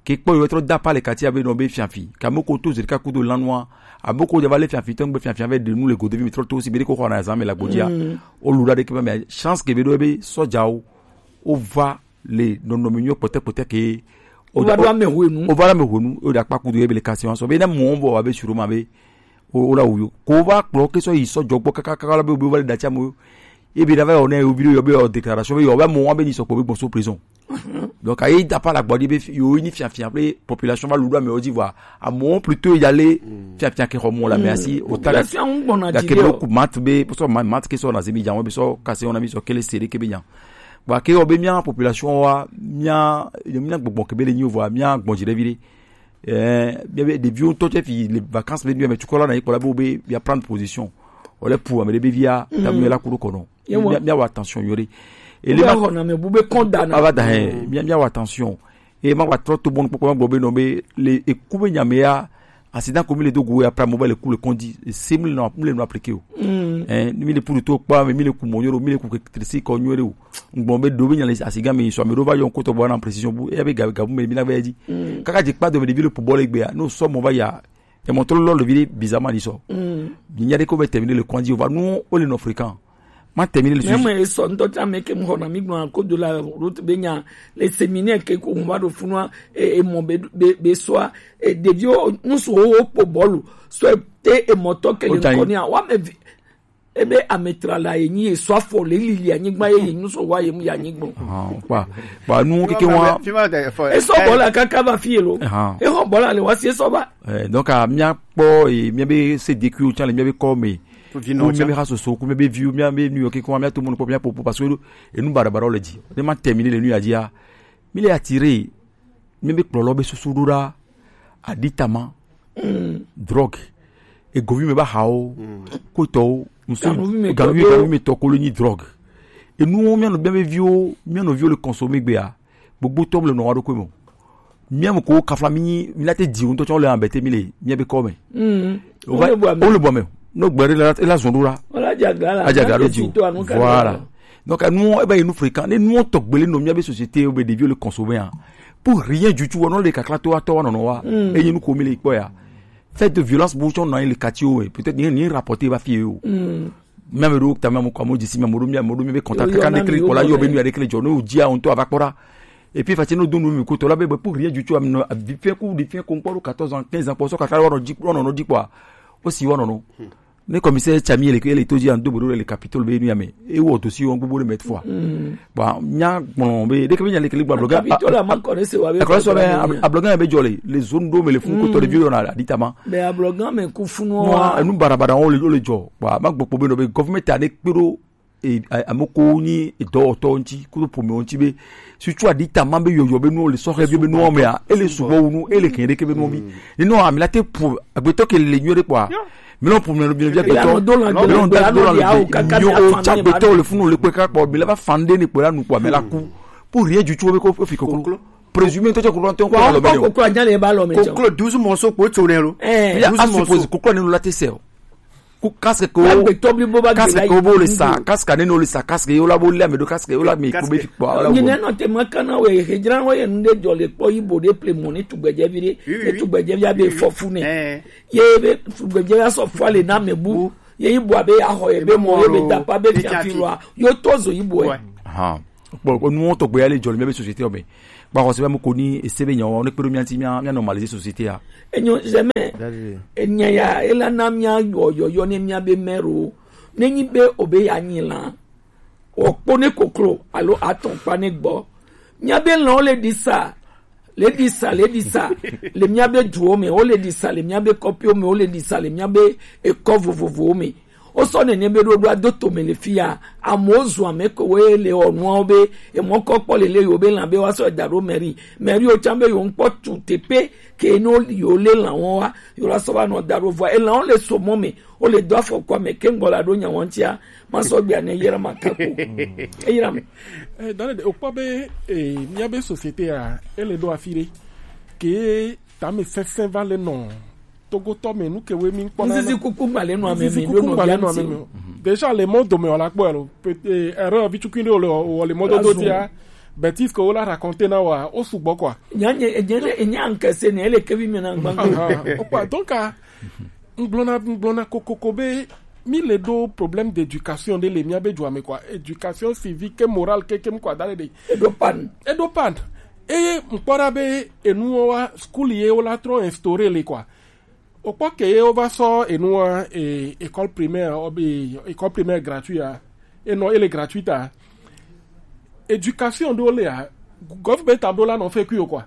Ke kpɔ yɔ trɔ da pa le kati abe nɔ be fiafi. Ka mo ko to zeri ka kudo lanua. Abo ko java le fiafi tɔn gbe fiafi ave de nu le gode vi mi trɔ to si be de ko xɔ na zan me la gbodia. O lura de ke ba me chance ke be do be sɔjawo. O va le nɔnɔme nyɔ kpɔtɛ kpɔtɛ ke. O va do ame hwenu. O va do ame hwenu. O da kpa kudo ebe le kasi wan sɔ. Be na mo bo wa be suro ma be. O, o la wuyo. Ko va kplɔ ke sɔ yi sɔjɔ gbɔ kaka kaka la be o be o va le datsi amo. Ebe da va yɔ ne o video yɔ be yɔ déclaration be yɔ be mo wa be ni sɔ kpɔ be gbɔn so prison. Donc ayi da pa la gbɔ di be yo ni fiafia pe population va ludo ame o di vwa. Amo plutôt y aller fiafia ke homo la mais asi o ta. Population gbɔna ya di ke de o. Ku mat be so ma mat ke so na zemi jawo be so kase ona mi so kele sere ke be nya. Ba ke o be mia population wa mia mia gbɔgbɔ ke be le ni o vwa mia gbɔn jire vire. Eh, bien, bien, des vieux, toi, tu as vu les vacances, mais tu as là, il y a pour la bobe, il y a prendre position. On est pour, mais les béviers, t'as mis la cour au coron. Bien, bien, attention, Yori. Et les gens, on a mis boube condamné. Ah, va d'ailleurs, bien, bien, attention. Et ma va trop tout bon, pour moi, bobe, non, mais les, et couper, il y a, mais, accident comme les deux goûts, après, mauvais, les coups, les condits, c'est mille, non, mille, non, appliqué. Hein, mille pour le tour, pas, mais mille coups, mon, mille coups, que, c'est, qu'on y aurait. Bon, be do be nya le asiga mi so me do va yo nkoto bo na précision bu e be ga ga bu me bi na be di. Kaka je kpa do me de bi le pour bol egbe a. No so mo va ya. E mo to lo le bi bizarrement ni so. Ni nya de ko be terminer le coin di va nous on est non fréquent. Ma terminer le sujet. Même so ndo ta me ke mo na mi gbo ko de la route be nya le séminaire ke ko mo va do funu e e mo be be be so e de dio nous so o po bolu. So te e mo to ke le ko ni a wa me vi- Ebe ametra la ye nyi ye sɔ afɔ le lili anyigba ye ye nu sɔ wa ye mu ye anyigba. Ah, kpa kpa nu keke wa. Esɔ bɔ la kaka va fi ye lo. Ehɔ bɔ la le wa si esɔ ba. Eh, donc a mia kpɔ e mia be se de ku o tsa le mia be kɔ me. Ku mia be ha soso ku mia be viu mia be nu yo keke wa mia to mo kpɔ mia popo parce que enu bara bara le di. Ne ma terminer le nu ya di a. Mi le attirer. Mia be kplɔlɔ be susu ɖo ɖa. Aɖitama. Drogue. Egovi me ba hawo. Kotɔwo. Musu ganuvi me tɔ kolo nyi drogue. Enuwo mía nɔ, mía be viwo, mía nɔviwo le consommer gbea, gbogbo tɔm le nɔ wa ɖo ko me. Mía me ko kafla mi nyi, mi la te di ŋutɔ tsɔ le ambete mi le mía be kɔ me. Mm. O va, o le bɔ me. No gbere la, la zɔn ɖo la. Wala jaga la. Ajaga ɖo di. Voilà. Donc, nous, eh ben, il nous fréquent. Ne nous, on tɔgbe le nɔ mía be société, o be ɖeviwo le consommer, hein. Pour rien du tout, non, le kakla to, to, non, non, wa. Mm. Et nous, comme il est quoi, ya. Fait de violence, bon, on a le quartier, ouais. Peut-être, ni, ni rapporté, va fier, oh. Mm. Mía me ɖo ta mía mu kɔ amewo dzi si mía me ɖo mía me ɖo mía be contact kaka ne kle kpɔ la yɔ be nu ya ɖe kle dzɔ ne o dzia o ŋutɔ ava kpɔ ɖa. Et puis fatsi ne o do nu mi ko tɔ la be be pour rien du tout am nɔ avi fɛn ku ɖi fɛn ko ŋkpɔ ɖo quatorze ans quinze ans kpɔ sɔ kaka wa nɔ dzi wa nɔ nɔ dzi kpɔa o si wa nɔ nɔ. Ne commissaire Tsami ele ele to dzi an do bo ɖo le capitole be nu ya me e wɔ dossier wɔn gbogbo ɖe mɛ fɔa. Bon, nya gblɔ be ɖeke be nya le kele gba bloga. Capitole a ma kɔ ne se wa be akɔlɔsɔ be abloga be dzɔ le le zone ɖo me le fun ko tɔ ɖe vi yɔ na aditama. Mais abloga me ku funu wa. Enu barabara wo le wo le dzɔ. Bon, ma gbɔ kpɔ be nɔ be government a ne kpe ɖo e ame ko nyi dɔwɔtɔ ŋti kudo ƒome ŋti be sutu aditama be yɔyɔ be nuwo le sɔhɛ bi be nuwo mea ele sugbɔ wu nu ele kɛn ɖeke be nuwo bi. Ni nɔ ami la te ƒo agbetɔ ke le nyuie ɖe kpɔa. Mi lɔ ƒo mi lɔ bi agbetɔ mi lɔ da do la le nyo o tsa agbetɔ le funu le kpe kakpɔ mi la va fan ɖe ni kpɔ la nu kpɔ mi la ku. Pour rien du tout be ko fi koklo. Présumé ŋutɔ tsɛ koklo ŋutɔ ŋutɔ koklo anya le ba lɔ me tsɛ koklo douze morceaux kpo tso ne lo. Ya a suppose koklo ne lo la te sɛ o. Ku casque ko casque ko bo le sa casque ne no le sa casque yo la bo le ame do casque yo la mi ko be fi kpɔ ala wo. Nyine no te ma kana we hejran wo ye nde jɔ le kpɔ ibo de ple mo ni tugbedze vi de. Ye tugbedze vi abe fɔ fu ne. Ye be tugbedze ya sɔ fɔ le na me bu. Ye ibo abe ya xɔ ye be mo ye be tapa be fiafi wa yo to zo ibo e. Kpɔ nuwo tɔgbe ya le dzɔ le mía be société me. Gba xɔse be ame ko ni ese be nyawo ne kpe ɖo mía ŋuti mía mía normaliser société ya. Enyo zeme. Enya ya ela na mía yɔ yɔyɔ ne mía be mɛro. Ne nyi be o be ya nyi la. O kpo ne koklo alo atɔn kpa ne gbɔ. Mía be lɔn le ɖi sa. Le ɖi sa le ɖi sa. Le mía be duwo me o le ɖi sa le mía be kɔpiwo me o le ɖi sa le mía be ekɔ vovovowo me. Wosɔ nene be ɖoɖoa do tome le fi ya. Amewo zu ame kewo le wɔ nuawo be emɔ kɔ kpɔ lele yewo be lã be woasɔ da ɖo mɛri. Mɛriwo tsã be yewo ŋkpɔ tu teƒe ke ne yewo lé lãwo wa yewo la sɔ va nɔ da ɖo vɔa elãwo le so mɔ me wole do afɔku ame ke ŋgbɔ la ɖo nya wɔn tia masɔ gbea ne yɛrɛ ma kako. Eyra me. Eh, dane de okpɔ be eh, míabe société ya ele ɖo afi ɖe ke tame sesẽ va le nɔ togotɔ me nu ke woe mi kpɔ na. Nzizi kuku gba le nua me. Nzizi kuku gba le nua me. Déjà le mɔ dome wala kpɔ alo erreur vi tukui ɖe wole wɔ le mɔ dodo dia bêtise ke wola raconter na wa o sugbɔ quoi. Nya nye nya nye nya nkese ne ele kevi me na gbangba. Okpa donc a ngblɔna ngblɔna kokoko be mi le ɖo problème d'éducation ɖe le mia be dua me quoi, éducation civique et morale kekem quoi da le ɖe. Eɖo pan. Eɖo pan. Eye ŋkpɔ ɖa be enuwo wa school ye wola trɔ instaurer le quoi. Okpɔ ke ye wova sɔ enuwa e, école primaire obi école primaire gratuit a enɔ ele gratuit a éducation ɖo le a government am ɖo la nɔ fɛ kui o quoi.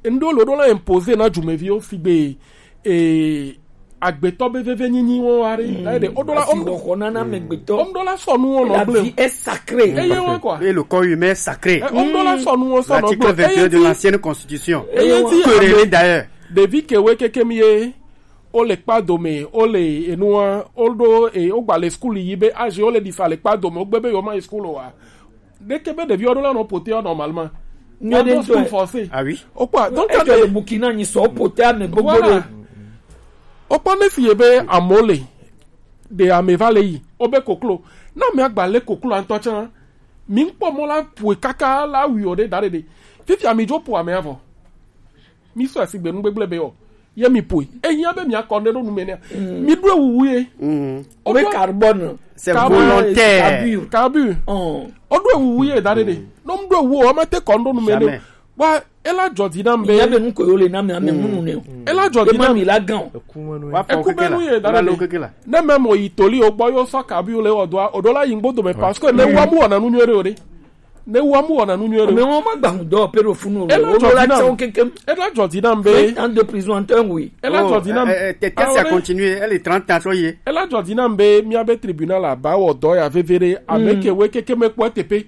Enu ɖo lo ɖo la imposer na dumeviwo sigbe e agbetɔ be veve nyinyi wo are na ede o ɖo la o ɖo la sɔ nu wo nɔ gble est sacré. Eye wa quoi. Et le corps humain est sacré. O ɖo la sɔ nu wo sɔ nɔ gble. L'article vingt et un de l'ancienne constitution. Eye ti que d'ailleurs. Ɖevi kewe keke mi ye o le kpa dome o le enua o ɖo e o gba le school yi be azi o le ɖi fa le kpa dome o gbe be yewo ma yi school o wa ɖeke be ɖevi o ɖo la nɔ pote o normalement. Nyɔ ɖe ŋutɔ. Ah oui. O kpa donc ejɔ le Burkina nyi sɔ o pote ame gbogbo ɖe. O kpɔ ne fi ye be amewo le ɖe ame va le yi o be koklo na ame agba le koklo ŋutɔ tsã mi ŋkpɔ mɔ la poe kaka la wi o ɖe da ɖe ɖe fifia mi dzo po ame avɔ. Mi sɔ asi gbe nu gbegble be o ye mi poe ehiã be mi akɔ ne ɖo nu me nea mi ɖo ewuwu ye. O be carbone. C'est volontaire. Carbure. Carbure. O ɖo ewuwu ye da ɖe ɖe no mu ɖo ewu o ma te kɔ nu ɖo nu me ne wa ela dzɔ di na be ya be nu ko yo le na me ame munu ne o ela dzɔ di na mi la gan o eku be nu ye da ɖe ɖe ne me mo yi toli o gbɔ yo sɔ carbure le o do o ɖo la yi ŋgbo do me parce que ne wa mu wɔna nu nyuie ɖe o ɖe. Ne wa mu wɔna nu nyuie ɖe. Mais wọn ma gba ŋdɔ pe ɖo funu o. Ela dzɔ di nam. Ela dzɔ di nam be. Vingt ans de prison en temps oui. Ela dzɔ di nam. Tete si a continuer elle est trente ans sɔ ye. Ela dzɔ di nam be mia be tribunal a ba wɔ dɔ ya veve ɖe ame ke we keke me kpɔ tepe.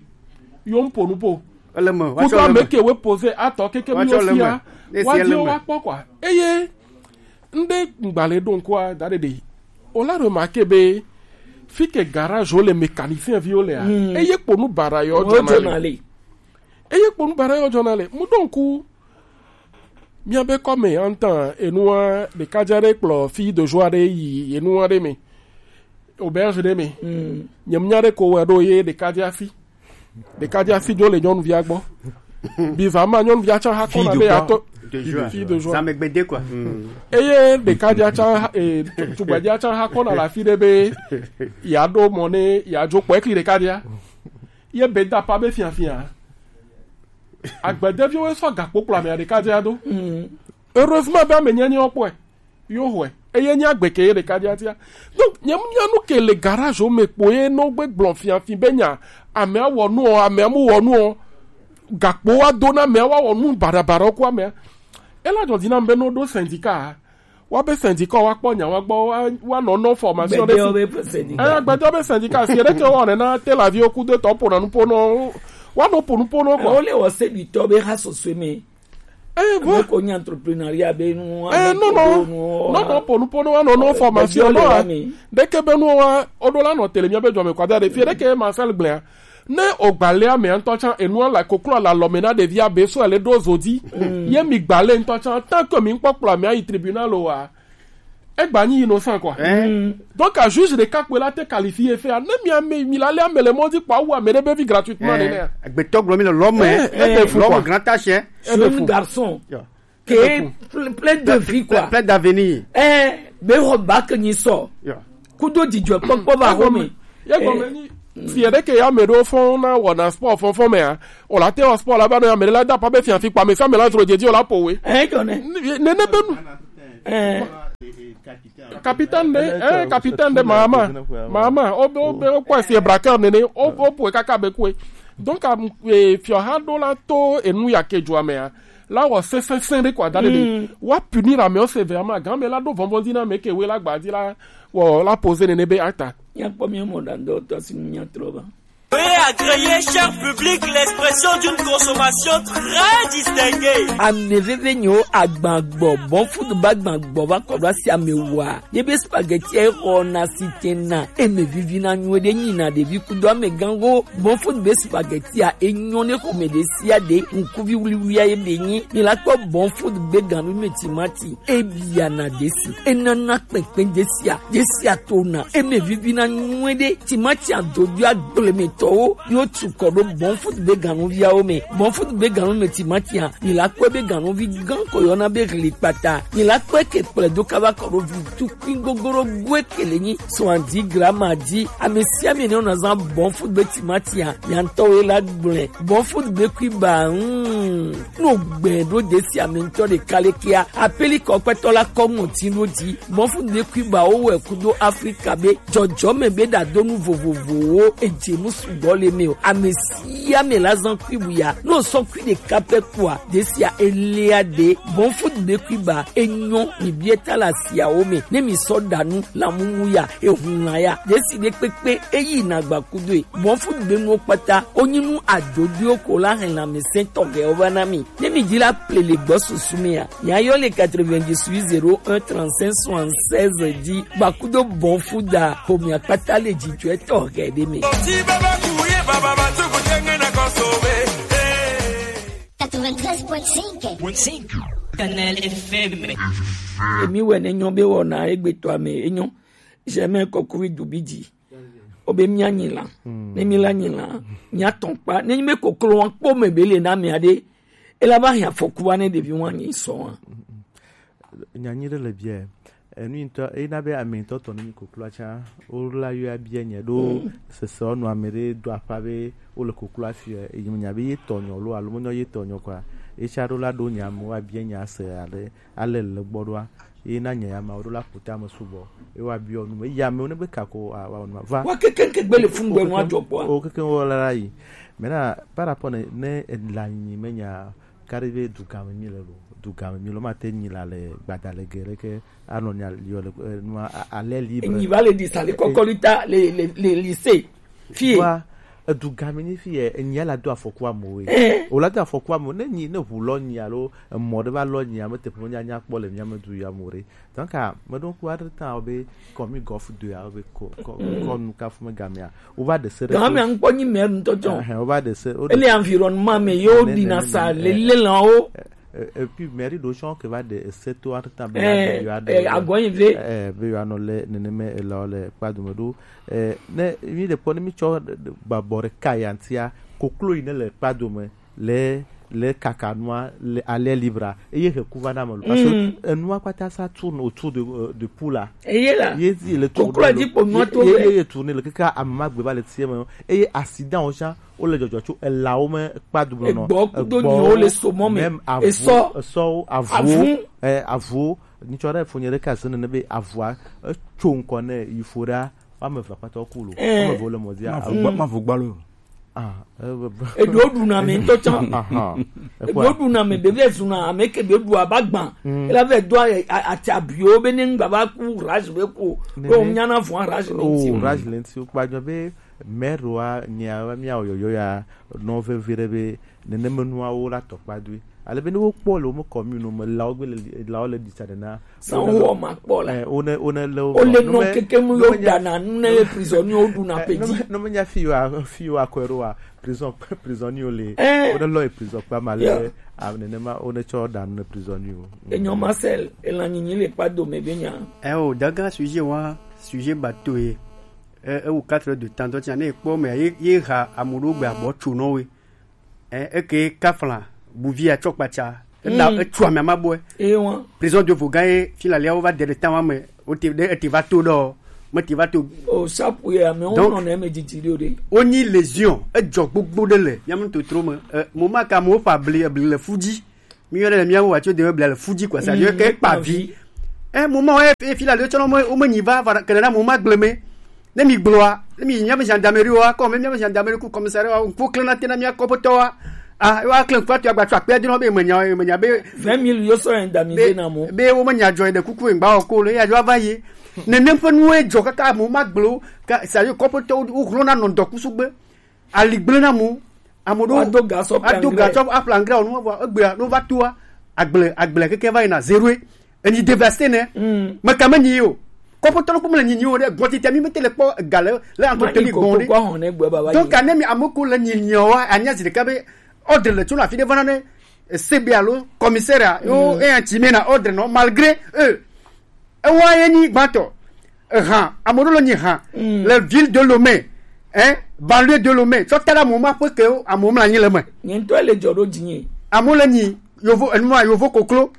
Yo mpo nu po. Ele me. Kudo ame ke we poser atɔ keke mi yo fia. Wa di o wa kpɔ quoi. Eye Ŋɖe ŋgba le ɖo ŋkua da ɖe ɖe. O la remarquer be Fi ke garage wo le mécanicien viwo le a. Hmm. Eye kponu bara yo jona le. Eye kponu bara yo jona le. Mu donc, miabe kɔme antan enua ɖekadza ɖe kplɔ fi de joie ɖe yi enua ɖe me. Auberge ɖe me. Hmm. Nyemnya ɖe ko wɛ ɖo ye ɖekadza fi. Ɖekadza fi dzo le nyɔnuvia gbɔ. Biva ma nyɔnuvia tsã ha kɔna be yeato. Fille de joie. Fille de joie. Zã me gbede quoi. Eye ɖekadza tsã, eh, tugbedzea tsã ha kɔna le afi ɖe be yeaɖo mɔ ne yeadzo kpɔ ekli ɖekadzea. Ye be da pa be fiafia. Agbedeviwo sɔ gakpo kplɔ amea ɖekadzea do. Heureusement be ame nyanya wo kpɔe. Yo hwe. Eye nye agbe ke ye ɖeka dia tia. Donc, nye nya nu ke le garage me kpo ye no gbe gblɔ fiafi be nya, amea wɔ nu o, amea mu wɔ nu o. Gakpo wa do na amea, wa wɔ nu barabara ku amea. Ela jɔ dina be no do syndicat. Wa be syndicat wa kpɔ nya wa gbɔ, wa, wa nɔ nɔ formation ɖe si. Eh, gbɛdɔ be syndicat si ɖe ke wɔ ne na te la vie ku de tɔ po na nu po no. Wa no po nu po no quoi. Ole wɔ se bi tɔ be ha soso me. Eh, ame ko nye entrepreneuria be nu, eh, ame no, ko no. Do nu, no, no, po nu, po nu, no, no, eh, formation, be no, le ah. Ami. Ɖeke be nu wa, o do la nɔ tele mia be jɔ me kwa da ɖe. Fi ɖeke Marcel gblea. Ne o gbalea me ŋutɔ tsã, enua la koklo la lɔ me na ɖevia be so ele do zodi. Ye mi gbale ŋutɔ tsã, tant que mi ŋkpɔ kplɔ mi ayi tribunal o wa. Egba nyi innocent quoi. Eh. Donc, à juge ɖeka kpe la te qualifier fait, ne mi ame, mi la le ame le mɔ dzi kpɔ awu ame ɖe be vi gratuitement nene. Agbetɔ gblɔ mi le lɔme. Eh, eh, lɔme grand tâche. Jeune garçon. Yeah. Qui est plein, plein de vie quoi. Plein, plein d'avenir. Eh, be ho bac nyi sɔ. Yeah. Kudo dzidzɔ kpɔkpɔ va ho me. Ye gɔme nyi, si ɖeke ya me ɖo fɔn na wɔna sport fɔn fɔn me a. O la te wɔ sport la ba no ya me la da pa be fiafi kpa me sa me la zro djedi o la po we. Eh, jɔ ne. Nene be nu. Eh. Capitaine de, eh, capitaine de mama. Mama, o be, o be, o kɔ si braqueur nene, o, o po kaka be kue. Donc, am, eh, fiɔ ha do la to enu ya ke jua me a. La wɔ sɛnsɛnsɛn ɖe kɔ ada ɖe ɖe. Wa punir ame ɔ se vɛ ame gan me la ɖo vɔnvɔn di na me ke we la gba di la wɔ la poser nene be ata. Míakpɔ mía mɔ ɖaŋdɔwɔtɔ si nu míatrɔ va. Veuillez agréer, cher public, l'expression d'une consommation très distinguée. Ame veve nyo agbagbɔ, bon food ba agbagbɔ va kɔ ɖo asi ame wa. Ye be spaghetti e xɔ na si tena, eme vivi na nyuie ɖe nyi na ɖevi kudo ame gan go. Bon food be spaghetti a enyo ne xɔme ɖe sia ɖe, ŋkuvi wuliwulia ye be nyi. Mi la kpɔ bon food be ganu me timati. Ebia na desi. Enana kpɛnkpɛn desia. Desia tona. Eme vivi na nyuie ɖe. Timati adodo agblemetɔwo. Yo tu kɔ ɖo bon food be ganuviawo me. Bon food be ganu me timati a. Mi la kpɔe be ganuvi gan ko yɔna be hli kpata. Mi la kpɔe ke kplɛ do kava kɔ ɖo vi tukui gogoro goe ke le nyi. Soixante-dix grammes a di. Ame sia ame ne wona zan bon food be timati a. Miantɔwo la gblɛ. Bon food be kui ba. Hmm. No gbɛ ɖo desi ame ŋutɔ ɖeka le kia. Apeli kɔ kpɛtɔ la kɔ ŋɔti ɖo dzi. Mɔfu de kui ba wo wɛ kudo Afrika be jɔjɔme be ɖadonu vovovowo edze nu sugbɔ le me o. Ame sia ame la zan kui bu ya. No sɔ kui ɖeka pɛ kua, desia elia de. Mɔfu de kui ba enyɔ mi bie ta la siawo me. Ne mi sɔ ɖanu la mumu ya, ehun la ya. Desi ɖe kpekpe eyi na gba kudo e. Mɔfu de nuwo kpata. Onyi nu adodoewo ko la hɛn lãmesẽ tɔxɛwo va na mi. Ne mi di la ple le gbɔ susu mea, mia yɔ le quatre-vingt-dix-huit zéro un trente-cinq soixante-seize di. Gbakudo bɔn fu da, homia kpata le jijɔɛ tɔxɛ ɖe me. Quatre-vingt-treize point cinq. Kanal F M. Emi wɛ ne nyɔ be wɔna egbetɔ ame enyɔ. Jamais kɔkuvi dubi di. Obe mia nyi la. Ne mi la nyi la, mia tɔn kpa. Ne mi koklo wan kpo me be le na mia de. Ela ba hia foku wa ne ɖevi wan nyi sɔ wan. Nyanyi ɖe le biɛ. Enu ŋutɔ, ena be ame ŋutɔ tɔ ne mi koklo atsa. O la yɔ abia nye ɖo sese ɔnu ame ɖe do aƒa be o le koklo afi. Eyi nya be ye tɔ nyɔ lo alo mo nyɔ ye tɔ nyɔ kwa. Etsa ɖo la ɖo nya mo abia nya se ale. Ale le gbɔ ɖoa, ye na nye ya ma wo ɖo la ƒo tame sugbɔ. Ye wa biɔ nu me. Yi amewo ne be kako a, wa wɔ nu ma. Va. Wa kekeŋ ke gbe le fun gbe nu adzɔ kpɔa. O kekeŋ wo la la yi. Maintenant, par rapport ne, ne la nyi me nya kari be du game mi le lo. Du game mi lo ma te nyi la le gbada le gere ke anɔ nya yɔ le, eh, nu a, a, ale libre. Nyi va le di sa le kɔkɔli ta le, le, le lycée. Fie. Wa, Edu gami ni fi yɛ, enyi la do afɔku amewo ye. Eh. O la do afɔku amewo, ne nyi, ne ʋu lɔ nyi alo emɔ ɖe va lɔ nyi, ame teƒe nya nya kpɔ le mía me du ya mo ɖe. Donc, ah, me ɖo ŋku aɖe ta be kɔmi gɔf do ya be kɔ, kɔ, kɔ nu kafu me gamea. O va de se ɖe. Gamea ŋkpɔ nyi mɛ ŋutɔ tsɔ. Eh, o va de se, o de Ele se. Environnement me yo Ne, ne, dina ne, sa ne, le eh, le lan o. Eh, eh, et puis, mairie ɖo tsɔ ke va de ese to aɖe ta be Eh, ya, ya, eh, ya, agɔnyi ve. Eh, be ya nɔ le neneme ela le kpa dome ɖo. Eh, ne mi le kpɔ, ne mi tsɔ babɔ ɖeka ya ŋutia, koklo yi ne le kpa dome, le, le kaka nua, le, à l'air libre, eye he ku va na me lo. Parce que Mm. enua kpata ça tourne autour de, euh, de poule là. Eye la. Ye di le tourne Koklo lo. Di kpo nua Ye, to ye, le. Ye, ye tourne le kaka ame ma gbe va le tie me. Eye accident o tsã, wo le dzɔdzɔ tso elawo me kpa du nɔ. Egbɔ kudo nyiwo le somɔ me. Même avu, Esɔ. Esɔwo, avuwo, Avu. Eh, avuwo. Nyitsɔ ɖe fo nye ɖe ka se nene be avua, etso ŋkɔ ne yi fo ɖa, wa me va kpata ku lo. Eh. Wa me vo le mɔ dia. Ma vo gba, ma vo gba lo. Ah, eh, be, be. Eɖo ɖuna me ŋutɔ tsã. Aha. Eɖo ɖuna me be vɛ zuna ame ke be ɖu aba gbã. Mm. Ela vɛ do a, a, ati abiwo be ne ŋgba va ku rage be ku. Ne, ko ne. Nyana vɔa rage le Oh, ŋuti o. Rage le ŋuti o. Kpa jɔ be mɛroa nyea míawɔ yɔyɔ ya nɔ vevi ɖe be neneme nuawo la tɔ kpa doe. Ale be ne wokpɔ le woƒe commune me lawo gbe le lawo le ɖi tsa ɖe na. San wowɔ ma kpɔ la. Eh, wone wone le wo. Wole nɔ keke mu yo dana nu ne ye prisonnier wo ɖuna pedi. No me nya fi yo a- fi yo akɔe ɖo wa prison prisonnier le. Eh. Wone lɔ ye prison kpa ma le. Yeah. A nenema wone tsɔ ɖa nu ne prisonnier wo. Enyo Marcel, elan nyinyi le kpa dome be nya. Eh o, daga sujet wa, sujet bateau ye. Eh, eh, ou quatre heures de temps, donc, il y a ne kpɔ me ye, ye ha amuɖo gbe abɔ tso nɔ we. Eh, eke kafla, buvia tsɔ kpatsa. Ela Mm. etsu ame ama bɔe. Eye wa. Prison de Vogan ye, fi la lia wo va de ɖe tan wa me. O te ɖe ete va to ɖɔ. Me te va to. O sapu ye ame wo Donc, nɔ ne me didi ɖo ɖe. Wonyi lésion, edzɔ gbogbo ɖe le. Mía me totro me. Eh, mo ma ka mo fa bli, bli le fu dzi. Mi yɔ ɖe le mía wo wa tso de bli le fu dzi quoi. Ça veut dire Mm, que kpa vi. Eh, mo ma wo e fi la le tsɔ nɔ mo, o me nyi va, va, kele na mo ma gble me. Ne mi gblɔa, ne mi yi míaƒe gendarmerie wa, kɔ me míaƒe gendarmerie ku commissariat wa, ŋku klẽ na te na mía kɔƒetɔ wa. Ah, wa klẽ ŋkua tu agba tso akpea dzi nɔ be menya, menya be vingt mille yo sɔ indemnité na mo. Be wo menya dzɔ ɖe kuku ŋgba o ko le, ya dzɔ va yi. Nenem ƒe nuwo dzɔ kaka mo ma gblɔ, ka, sa yo kɔƒetɔ wo hlɔ̃na nɔ ŋdɔkusu gbe. Ali gblẽ na mo. Ame ɖewo Ado ga sɔ ado ga plangrɛ. Tsɔ aƒle angrɛ o, nu vɔ egbea, ne wova toa, agble, agble keke va yina zéro. Enyi dévasté nɛ. Mm. Meka menyi o. Kɔƒetɔ ɖokpo mele nyinyi o ɖe. Gbɔtete mi mete le kpɔ ga le, le Ma entretenir iko gbɔn ko ɖe. Kɔ hɔn ne gbe baba Donc, yi. Ane mi ame ko le nyinyi o, anya zi ɖeka be ordre le tso le afi ɖe vana ne C B alo commissaire a, yo, Mm. E anti me na ordre nɔ, malgré eux. Ewa ye nyi gbãtɔ. Eha, ame ɖewo le nyi ha. Mm. Le ville de Lomé, hein, banlieue de Lomé. Tsɔ ta ɖe amewo ma ƒe ke wo, amewo mla anyi le me. Nye ŋutɔ le dzɔ ɖo dzinye. Amewo le nyi, yovo, enuma, yovo koklo.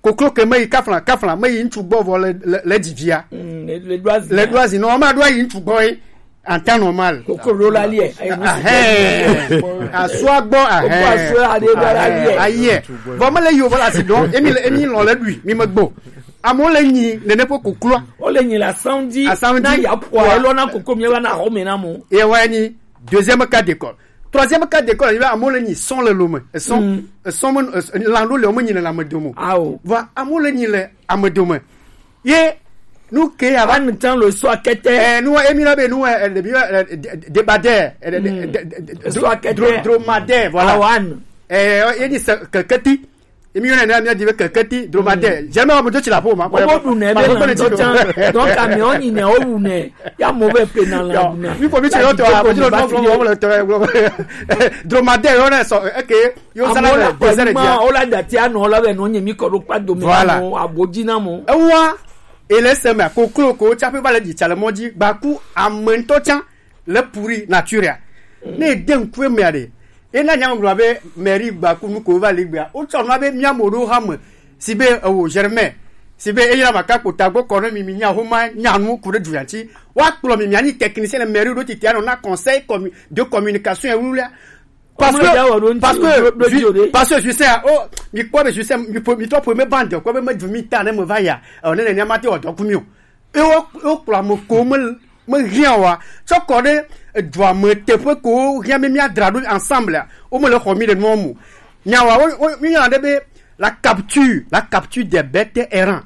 Koklo ke me yi kafla, kafla, me yi ŋutsu gbɔ vɔ le, le, le dzi via. Mm, le, le ɖo azi. Le ɖo azi, non, ma ɖo yi ŋutsu gbɔ ye. En temps normal. Koklo ɖo la liɛ. Ahɛn. Asua gbɔ, ahɛn. Koklo asua aɖe ɖo la liɛ. Ayɛ. Vɔ me le yi o, vɔ la si dɔn, emi le, emi lɔ le ɖui, mi me gbo. Amewo le nyi nene ƒe kokloa. Wole nyi le asaŋ dzi. Asaŋ dzi. Na ya ƒoa, elɔ na koko mi va na xɔ me na mo. Ye wa nyi deuxième cas d'école. Troisième cas d'école, il va amewo le nyi sɔn le lome. Esɔn, Mm. esɔn me, es-, lan ɖo le wo me nyi le ame dome o. Ao. Va amewo le nyi le ame dome. Ye nu ke ya va. Anu tan lo sɔ akete. Eh, nu wa emi na be nu wa, eh, de bi wa, eh, de, de, debadɛ, eh, de, de, Mm. de, de, de, Sɔ akete. Dro-, dromadaire, voilà. Awan. Eh, ye ni se keketi. Emi yɔna ne mía di be keketi dromadaire. Mm. Jamais wa mo do ti la po ma. Obo ɖu nɛ be na ŋutɔ tsã. Donc, amewo nyi nɛ, wowu nɛ. Ya mo be pe na la ɖu nɛ. Mi ko mi tse yɔ tɔ, a, mo tse lɔ fɔ mo le tɔ. Dromadaire yɔ na sɔ, eke, yo zana le désert dia. Amewo la dati anɔ la be no nye mi kɔ ɖo kpa dome. Voilà. Na mo, abodzi na mo. Ewa, ele se me koklo ko tsa pe va le dzi tsa le mɔ dzi, gbaku ame ŋutɔ tsã. Le pourri nature ya. Ne ede ŋku emea ɖe, ena nya ŋgblɔ be mairie gba ku nu ko va li gbea. Wotsɔ nua be mía mo ɖo hame, si be ewo Germain, si be eyra ma ka kpota gbɔ kɔ ne mi, mi nya homa nya nu ku ɖe du ya ŋuti. Woakplɔ mi, mianyi technicien le mairie ɖo titi anɔ na conseil commu-, de communication ya wulia. Parce que, parce que, parce que je sais, oh, mi kpɔ be je sais, mi po, mi tɔ po me bande, kpɔ be me du mi ta ne me va ya. Oh, ne, ne, ne, ma te wɔ dɔ ku mi o. Eye wo, wokplɔ ame ko me, mehiã oa, tsɔ kɔ ɖe edua me teƒe ko wohiã be míadra ɖo ensemble a, womele xɔ mí ɖe nua me o. Nyawoa, wo, wo, míyɔna ɖe be la capture, la capture des bêtes errants.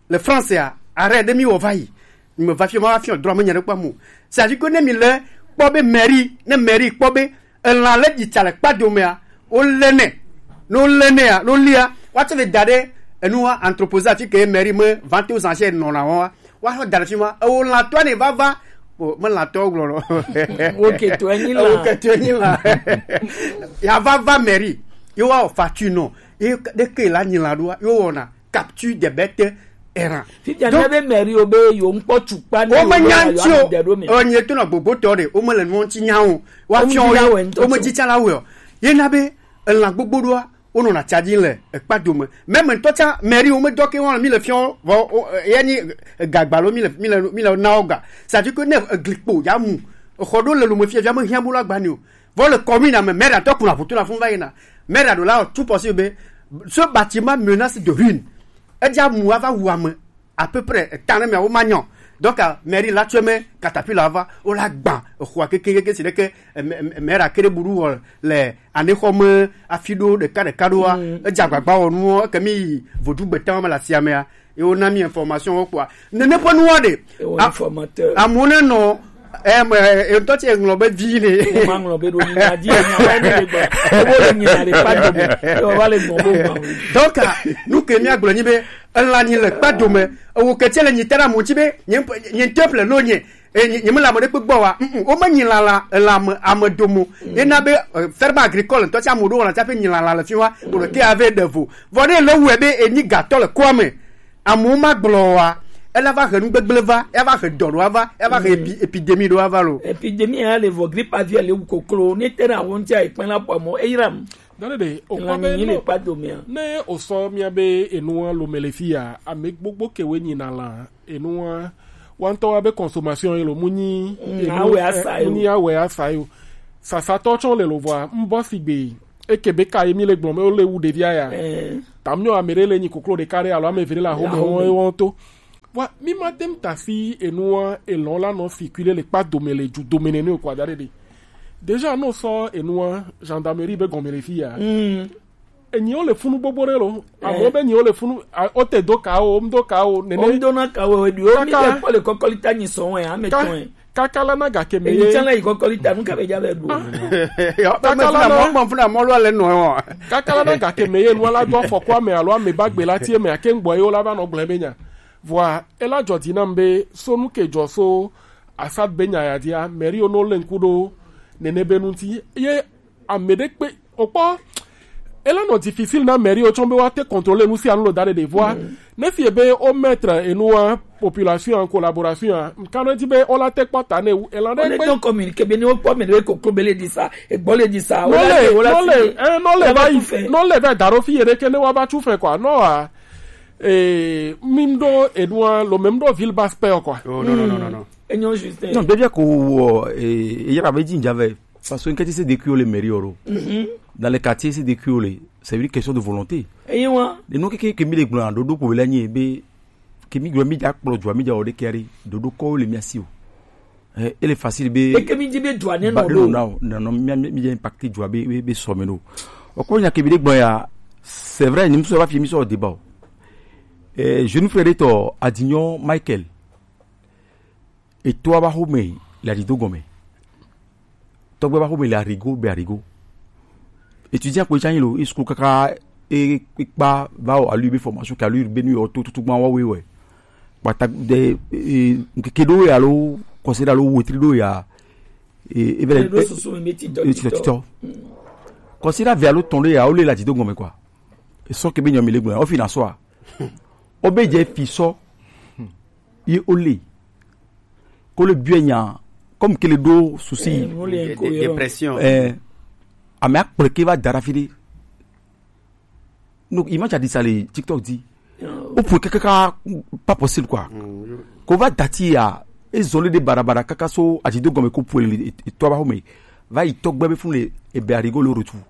Le français a, arrêt ɖe míwɔ va yi. Meva fi ma, va fi o, droit me nya ɖe kpam o. C'est-à-dire que ne mi le kpɔ be mairie, ne mairie kpɔ be elã le dzi tsa le kpa dome a, wo le nɛ. Ne wo le nɛ a, ne wo lia, wa tsɔ ve da ɖe enu wa entreposé afi ke mairie me vente aux enchères nɔna wa. Wa xɔ da ɖe fi ma, ewo lãtɔ ne va va. O, me lãtɔ gblɔ lɔ. Wo ke to enyi lã. Wo ke to enyi lã. Ya va va mairie. Yo wa facture nɔ. Ye ɖe ke la nyi lã ɖoa, yo wɔna capture des bêtes errant. Fifia ne be mairie wo be yo ŋkpɔ tukpa ne wo me nya ŋti o. Enye to nɔ gbogbotɔ ɖe, wo me le nuwo ŋti nya o. Wa fiɔ wo me dzi tsa la wɔ. Ye na be elã gbogbo ɖoa, wo nɔna tsa dzi le ekpa dome. Meme ŋutɔ tsa mairie wo me dɔ ke wɔn mi le fiɔ vɔ, ya ni gagba lo mi le, mi le, mi le na wo ga. Ça dit que ne egli kpo ya mu. Exɔ ɖo le lo me fia, fia me hiã bo la gba ni o. Vɔ le commune me, maire tɔ kuna ƒoto na fun va yina. Maire ɖo la tout possible be ce bâtiment menace de ruine. Edza mu ava wu ame à peu près etã ne mia wo ma nyɔ. Donc, euh, mairie la tue me caterpillar va, o la gba exɔa keke keke si ɖeke, eh, maire kere buɖu wɔ le anexɔ me afi ɖo ɖeka ɖeka ɖoa. Edza agbagba wɔ nuwo, eke mi yi vodu gbeta me le asia mea. Ye wo na mi information wo kpɔa. Nene ƒe nuwa ɖe. Ewo informateur. Amewo ne nɔ, em, eh, ŋutɔ tse ŋlɔ be vi ne. Wo ma ŋlɔ be ɖo nyi na di nya wa ne le gba. Wo le nyi na le pa do mo. Yo wa le gbɔn bo ma. Donc, ah, nu ke mi agblɔ nyi be, elã nyi le kpa dome. Ewo ke tse le nyi tera mo tsi be, nye, nye temple lo nye. E, nye, nye me le ame ɖe kpe gbɔ wa. Mm, mm, wo me nyi lã la, elã me, ame domo. Ye na be, eh, ferme agricole ŋutɔ tse ame ɖo wɔna tsa pe nyi lã la le fi wa. Wo le ke ave ɖe vo. Vɔ ne le wɛ be enyi gatɔ le koa me. Amewo ma gblɔ wa, ela va he nu gbegblẽ va, ela va he dɔ ɖo ava, ela va he epi-, epidémie ɖo ava lo. Epidémie ya le vɔ, grippe aviaire le wu koklo, ne te na wo ŋuti ayi kpɛn la pɔ mɔ, eyram. Dɔnni de, o kpɔ be nyi le kpa domea. Ne o sɔ mia be enua lo me le fi ya, ame gbogbo ke we nyi na la, enua, wa ŋutɔ wa be consommation ye lo mu nyi, mm, enu, awe asa yo. Mu nyi awe asa yo. Sasatɔ tsɔ le lo vɔa, n bɔ sigbe. Eke be ka ye mi le gblɔ me wo le wu ɖevia ya. Eh. Ta mi ame ɖe le nyi koklo ɖeka ɖe alo ame eve ɖe le ahome wɔn wɔn to. Wa mi ma tem ta si enua elɔn la nɔ fi kui ɖe le kpa dome le ju dome nene o kɔ ada ɖe ɖe. Déjà no sɔ enua gendarmerie be gɔme le fi ya. Mm. Enyi wo le funu gbogbo ɖe lo. Eh. Amo be nyi wo le funu, a, o te do ka o, m do ka o, nene. O m do na ka o, edu o mi le kpɔ le kɔkɔli ta nyi sɔn wɛ, ame tɔn. Kaka la na gake me ye. Enyi tsa la yi kɔkɔli ta, nu ka be ja be ɖu. Kaka la na mɔ funa mɔ lo le nɔ. Kaka la na gake me ye, nu la do afɔku ame alo ame ba gbe la tie me ake ŋgbɔ ye wo la va nɔ gblẽ be nya. Vɔa, ela dzɔ dzi nam be so nu ke dzɔ so Assad be nya ya dia, mairie wo no le ŋku ɖo nene be nu ŋti. Ye ame ɖe kpe, okpɔ, ela nɔ difficile na mairie wo tsɔ be wa te contrôler nu sia nu lo da ɖe ɖe vɔa. Mm. Ne fie be o mettre enua population en collaboration a, nka no di be o la te kpɔ ta ne wu, ela ɖe kpe. Tɔn communiqué be ne wo kpɔ me ne koklo be le di sa, egbɔ le di sa, no le, no le, eh, no le va yi, no le va da ɖo fi ye ɖe ke ne wa va tu fɛ quoi, no a, eh, mi ɖo enua, lo même ɖo ville basse paix quoi. Oh, non, non, non, non, non. Enyo juste. Non, devia ko, eh, e yara be dzi dza vɛ. Parce que ŋkɛtɛ se de kuiwo le mairie oro. Mhm. Dans les quartiers se de kuiwo le. C'est une question de volonté. Eyi wa. De no ke ke mi le gblɔ ɖoɖo ko le nyi be ke mi gblɔ mi dza kplɔ dua mi dza o de kɛri ɖoɖo ko le mi asi o. Eh, ele facile be. Eke mi di be dua ne ba no de do. Na o, na no mi mi mi impacté dua be be, be so me no. O ko nya ke mi de gblɔ ya. C'est vrai, ni mi so va fi mi so débat o. Eh, jeune frère de to Adignon Michael. Etɔa ba xome le aɖido gɔme. Tɔgbe ba xome le Arigo be Arigo. Étudiant kpoe tsa nyi lo, e sukulu kaka e, e kpa va o alu be formation ke alu be nu yɔ to tutu gban wa we wɛ. Kpata de, e, ŋkeke ɖo ya lo, kɔse ɖa lo, wetri ɖo ya. E, e bɛ le, e, susu me ti tɔ, e, ti tɔ, ti tɔ. Kɔse ɖa ve alo tɔn ɖo ya, o le le aɖido gɔme quoi. E sɔ ke be nyɔ mi le gblɔ, o fi na sɔ a. O be dze fi sɔ. Ye o le. Ko le biɛ nya, comme ke le ɖo souci. Eh, mo le ko yɔ. Dépression. Eh, ame akplɔ ke va da ɖe afi ɖe. Donc, image a dit ça le TikTok dit. Oh. O pour que kaka pas possible quoi. Mm. Ko va dati ya, e zɔle de barabara kaka so aɖido gɔme ko pour le, e, e to ba xome. Va yi tɔgbe be fun le, e be Arigo le retour.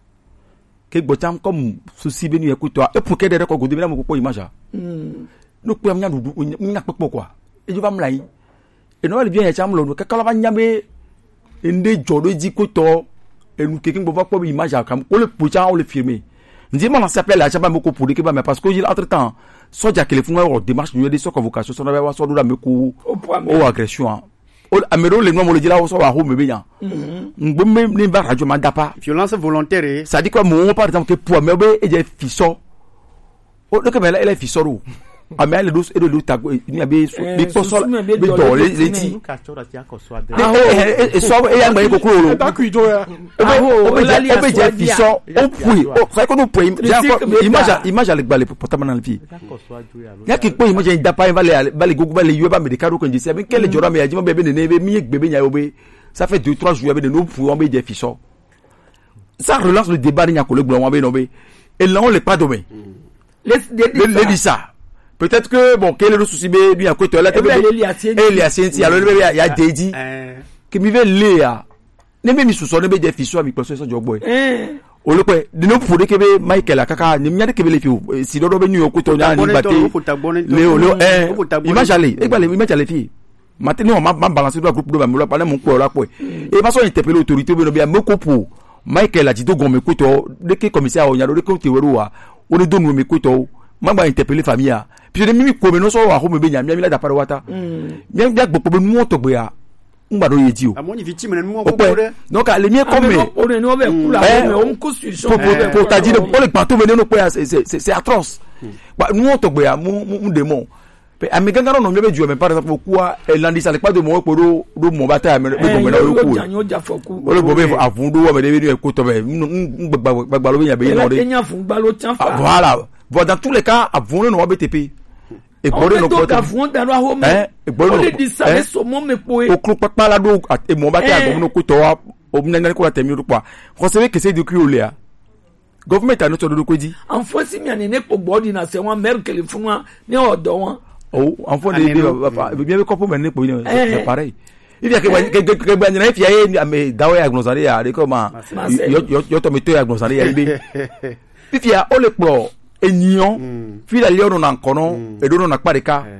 Ke gbɔ tsam comme souci be nu yɛ kutɔ. E pour que ɖe ɖe kɔ godo be na mo kpɔ image a. Mm. No kpɔ nya ɖuɖu, nya kpɔkpɔ quoi. E jo va mla yi. E no le bien yɛ tsam lo no kaka la va nya be ende dzɔ ɖo dzi kutɔ. E nu keke gbɔ va kpɔ be image a kam. Ko le pour tsam o le filmer. Ndi ma na s'appelle la tsam ba me ko pour de ke ba me parce que entre temps, so ja ke le fun wa démarche nu de so convocation so na wa so do la me ko o agression. O, ame ɖewo le nua mo le dzi la, wo sɔ wa xo me be nya. Ŋgbe me ne va radio ma da pa. Violence volontaire. Ça dit quoi, mo par exemple ke pour me be e je fisɔ. O, ɖeke me la, ele fisɔ ɖo. Ame ale ɖo, eɖo ɖo tago, ni abe so, Eh, be kpɔsɔ, susu me be be dɔ dɔ le, le le ti. Luka tsɔ ɖe asi akɔ sɔ adre. Ne, Ah, eh, eh, eh, sɔ, eh, ya ŋgbe koklo lo. Eba kui do ya. Ebe, Aho, ebe lali je, ebe je asɔ fisɔ, dia. O pui, o, fa ko no pui, Tricycle ja ko, be image, ta. Image ale gba le portable na le fi. Akɔ sɔ adre ya lo. Ya ki kpɔ image da pa, va le, va le gogo, va le yɔ ba me de karo ko ndisi, abe kele jɔra me ya jima be be ne, ne, be mi gbe be nya yo be. Ça fait deux, trois jours, be ne no pui, on be je fisɔ. Ça relance le débat, ni nya ko le gblɔ, on be no be. Et là, on le pas demain. Le, le, le, le dit ça. Peut-être que, bon, quel est le souci, mais lui, à côté, là, Ebe le li asienti. E li asienti, alors, il y a, il y a Dédi. Eh. Que mi ve le ya. Ne be mi susɔ, ne be je fisɔ, mi kpɔsɔ sɔ jɔgbɔ. Eh. O le kpɛ, de no pour de ke be Michael akaka, ni mi nya de ke be le fi o, eh, si dodo be New York ko to nya ni Tagbɔnɛ bate. Tɔ, o fo tagbɔnɛ tɔ. Le o, le o, eh, O fo tagbɔnɛ image tɔ. Ale, e gba le, image ale fi. Mate, non, ma, ma balance do groupe do ba mi lo pa ne mo kpɔ la kpɔ. E ma sɔ interpeller autorité be no be me ko pour Michael ati do gon me ko to, de ke commissaire o nya do de ke o te wero wa. O ne do nu me ko to. Ma gba interpeller famille a. Puis de mi mi ko me no sɔ wa xo me be nya, mi mi la da pa wa ta. Mi mi gbɔ be nu to gbe ya. Ngba do ye di o. Amo ni victime ne nu O ko pɛ. De. Donc, à l'émir comme Ame no, o ne no be kula, Eh, o me, o me ko solution. Pour, pour, Eh. Pour ta dire, o le gbato me ne no pɛ ya, c'est, c'est, c'est, c'est atroce. Ba, nu to gbe ya, mu, mu, mu démon. Pe ame gangan no mi be ju me, par exemple, o ku a, e landi sa le pa de mo ko do, do mo ba ta me, be Eh, mo na yo o ku. Ja, yo ja fɔ ku. O le bo be avun do wa me de be ko to be. N, n, n, gba, gba, gba lo be nya be Ela no de. Kenya fun gba lo tian Ah, fa. Voilà. Bon, dans tous les cas, avun no wa be te pe. E gbɔ ɖe nɔ Ɔwɔ kpɔ ka tɛ. Fún dàrú ahome. Ɛ, e gbɔ ɖe O nɔ le di sa Eh? Le sɔmɔ me kpoe. O klo kpakpa la ɖo at-, e mɔ ba tɛ Eh. Agɔmu no kutɔ wa. O mi nana ko la tɛ mi ɖo kpɔ. Xɔse be kese do kui o le a. Government a no tɔ ɖo ko di. Anfo si mi ane ne kpɔ gbɔ di na se wa mɛri kele fún wa ne ɔdɔ wa. O, anfo ne Ane de no. Ba, ba, ba, bien be kɔpu me ne kpɔ ne. Eh. C'est pareil. Il y a que, Eh. Que, que, que, que, que, que, ame dawo ya gblɔzan de ya, de kɔ ma. Marseille. Yɔ, yɔ, yɔ tɔ me to ya gblɔzan de ya, ibe. Fifia, o le kplɔ enyiɔ. Mm. Fi la liɔ nɔ na nkɔnɔ, Mm. Eɖo nɔ na kpa ɖeka. Eh.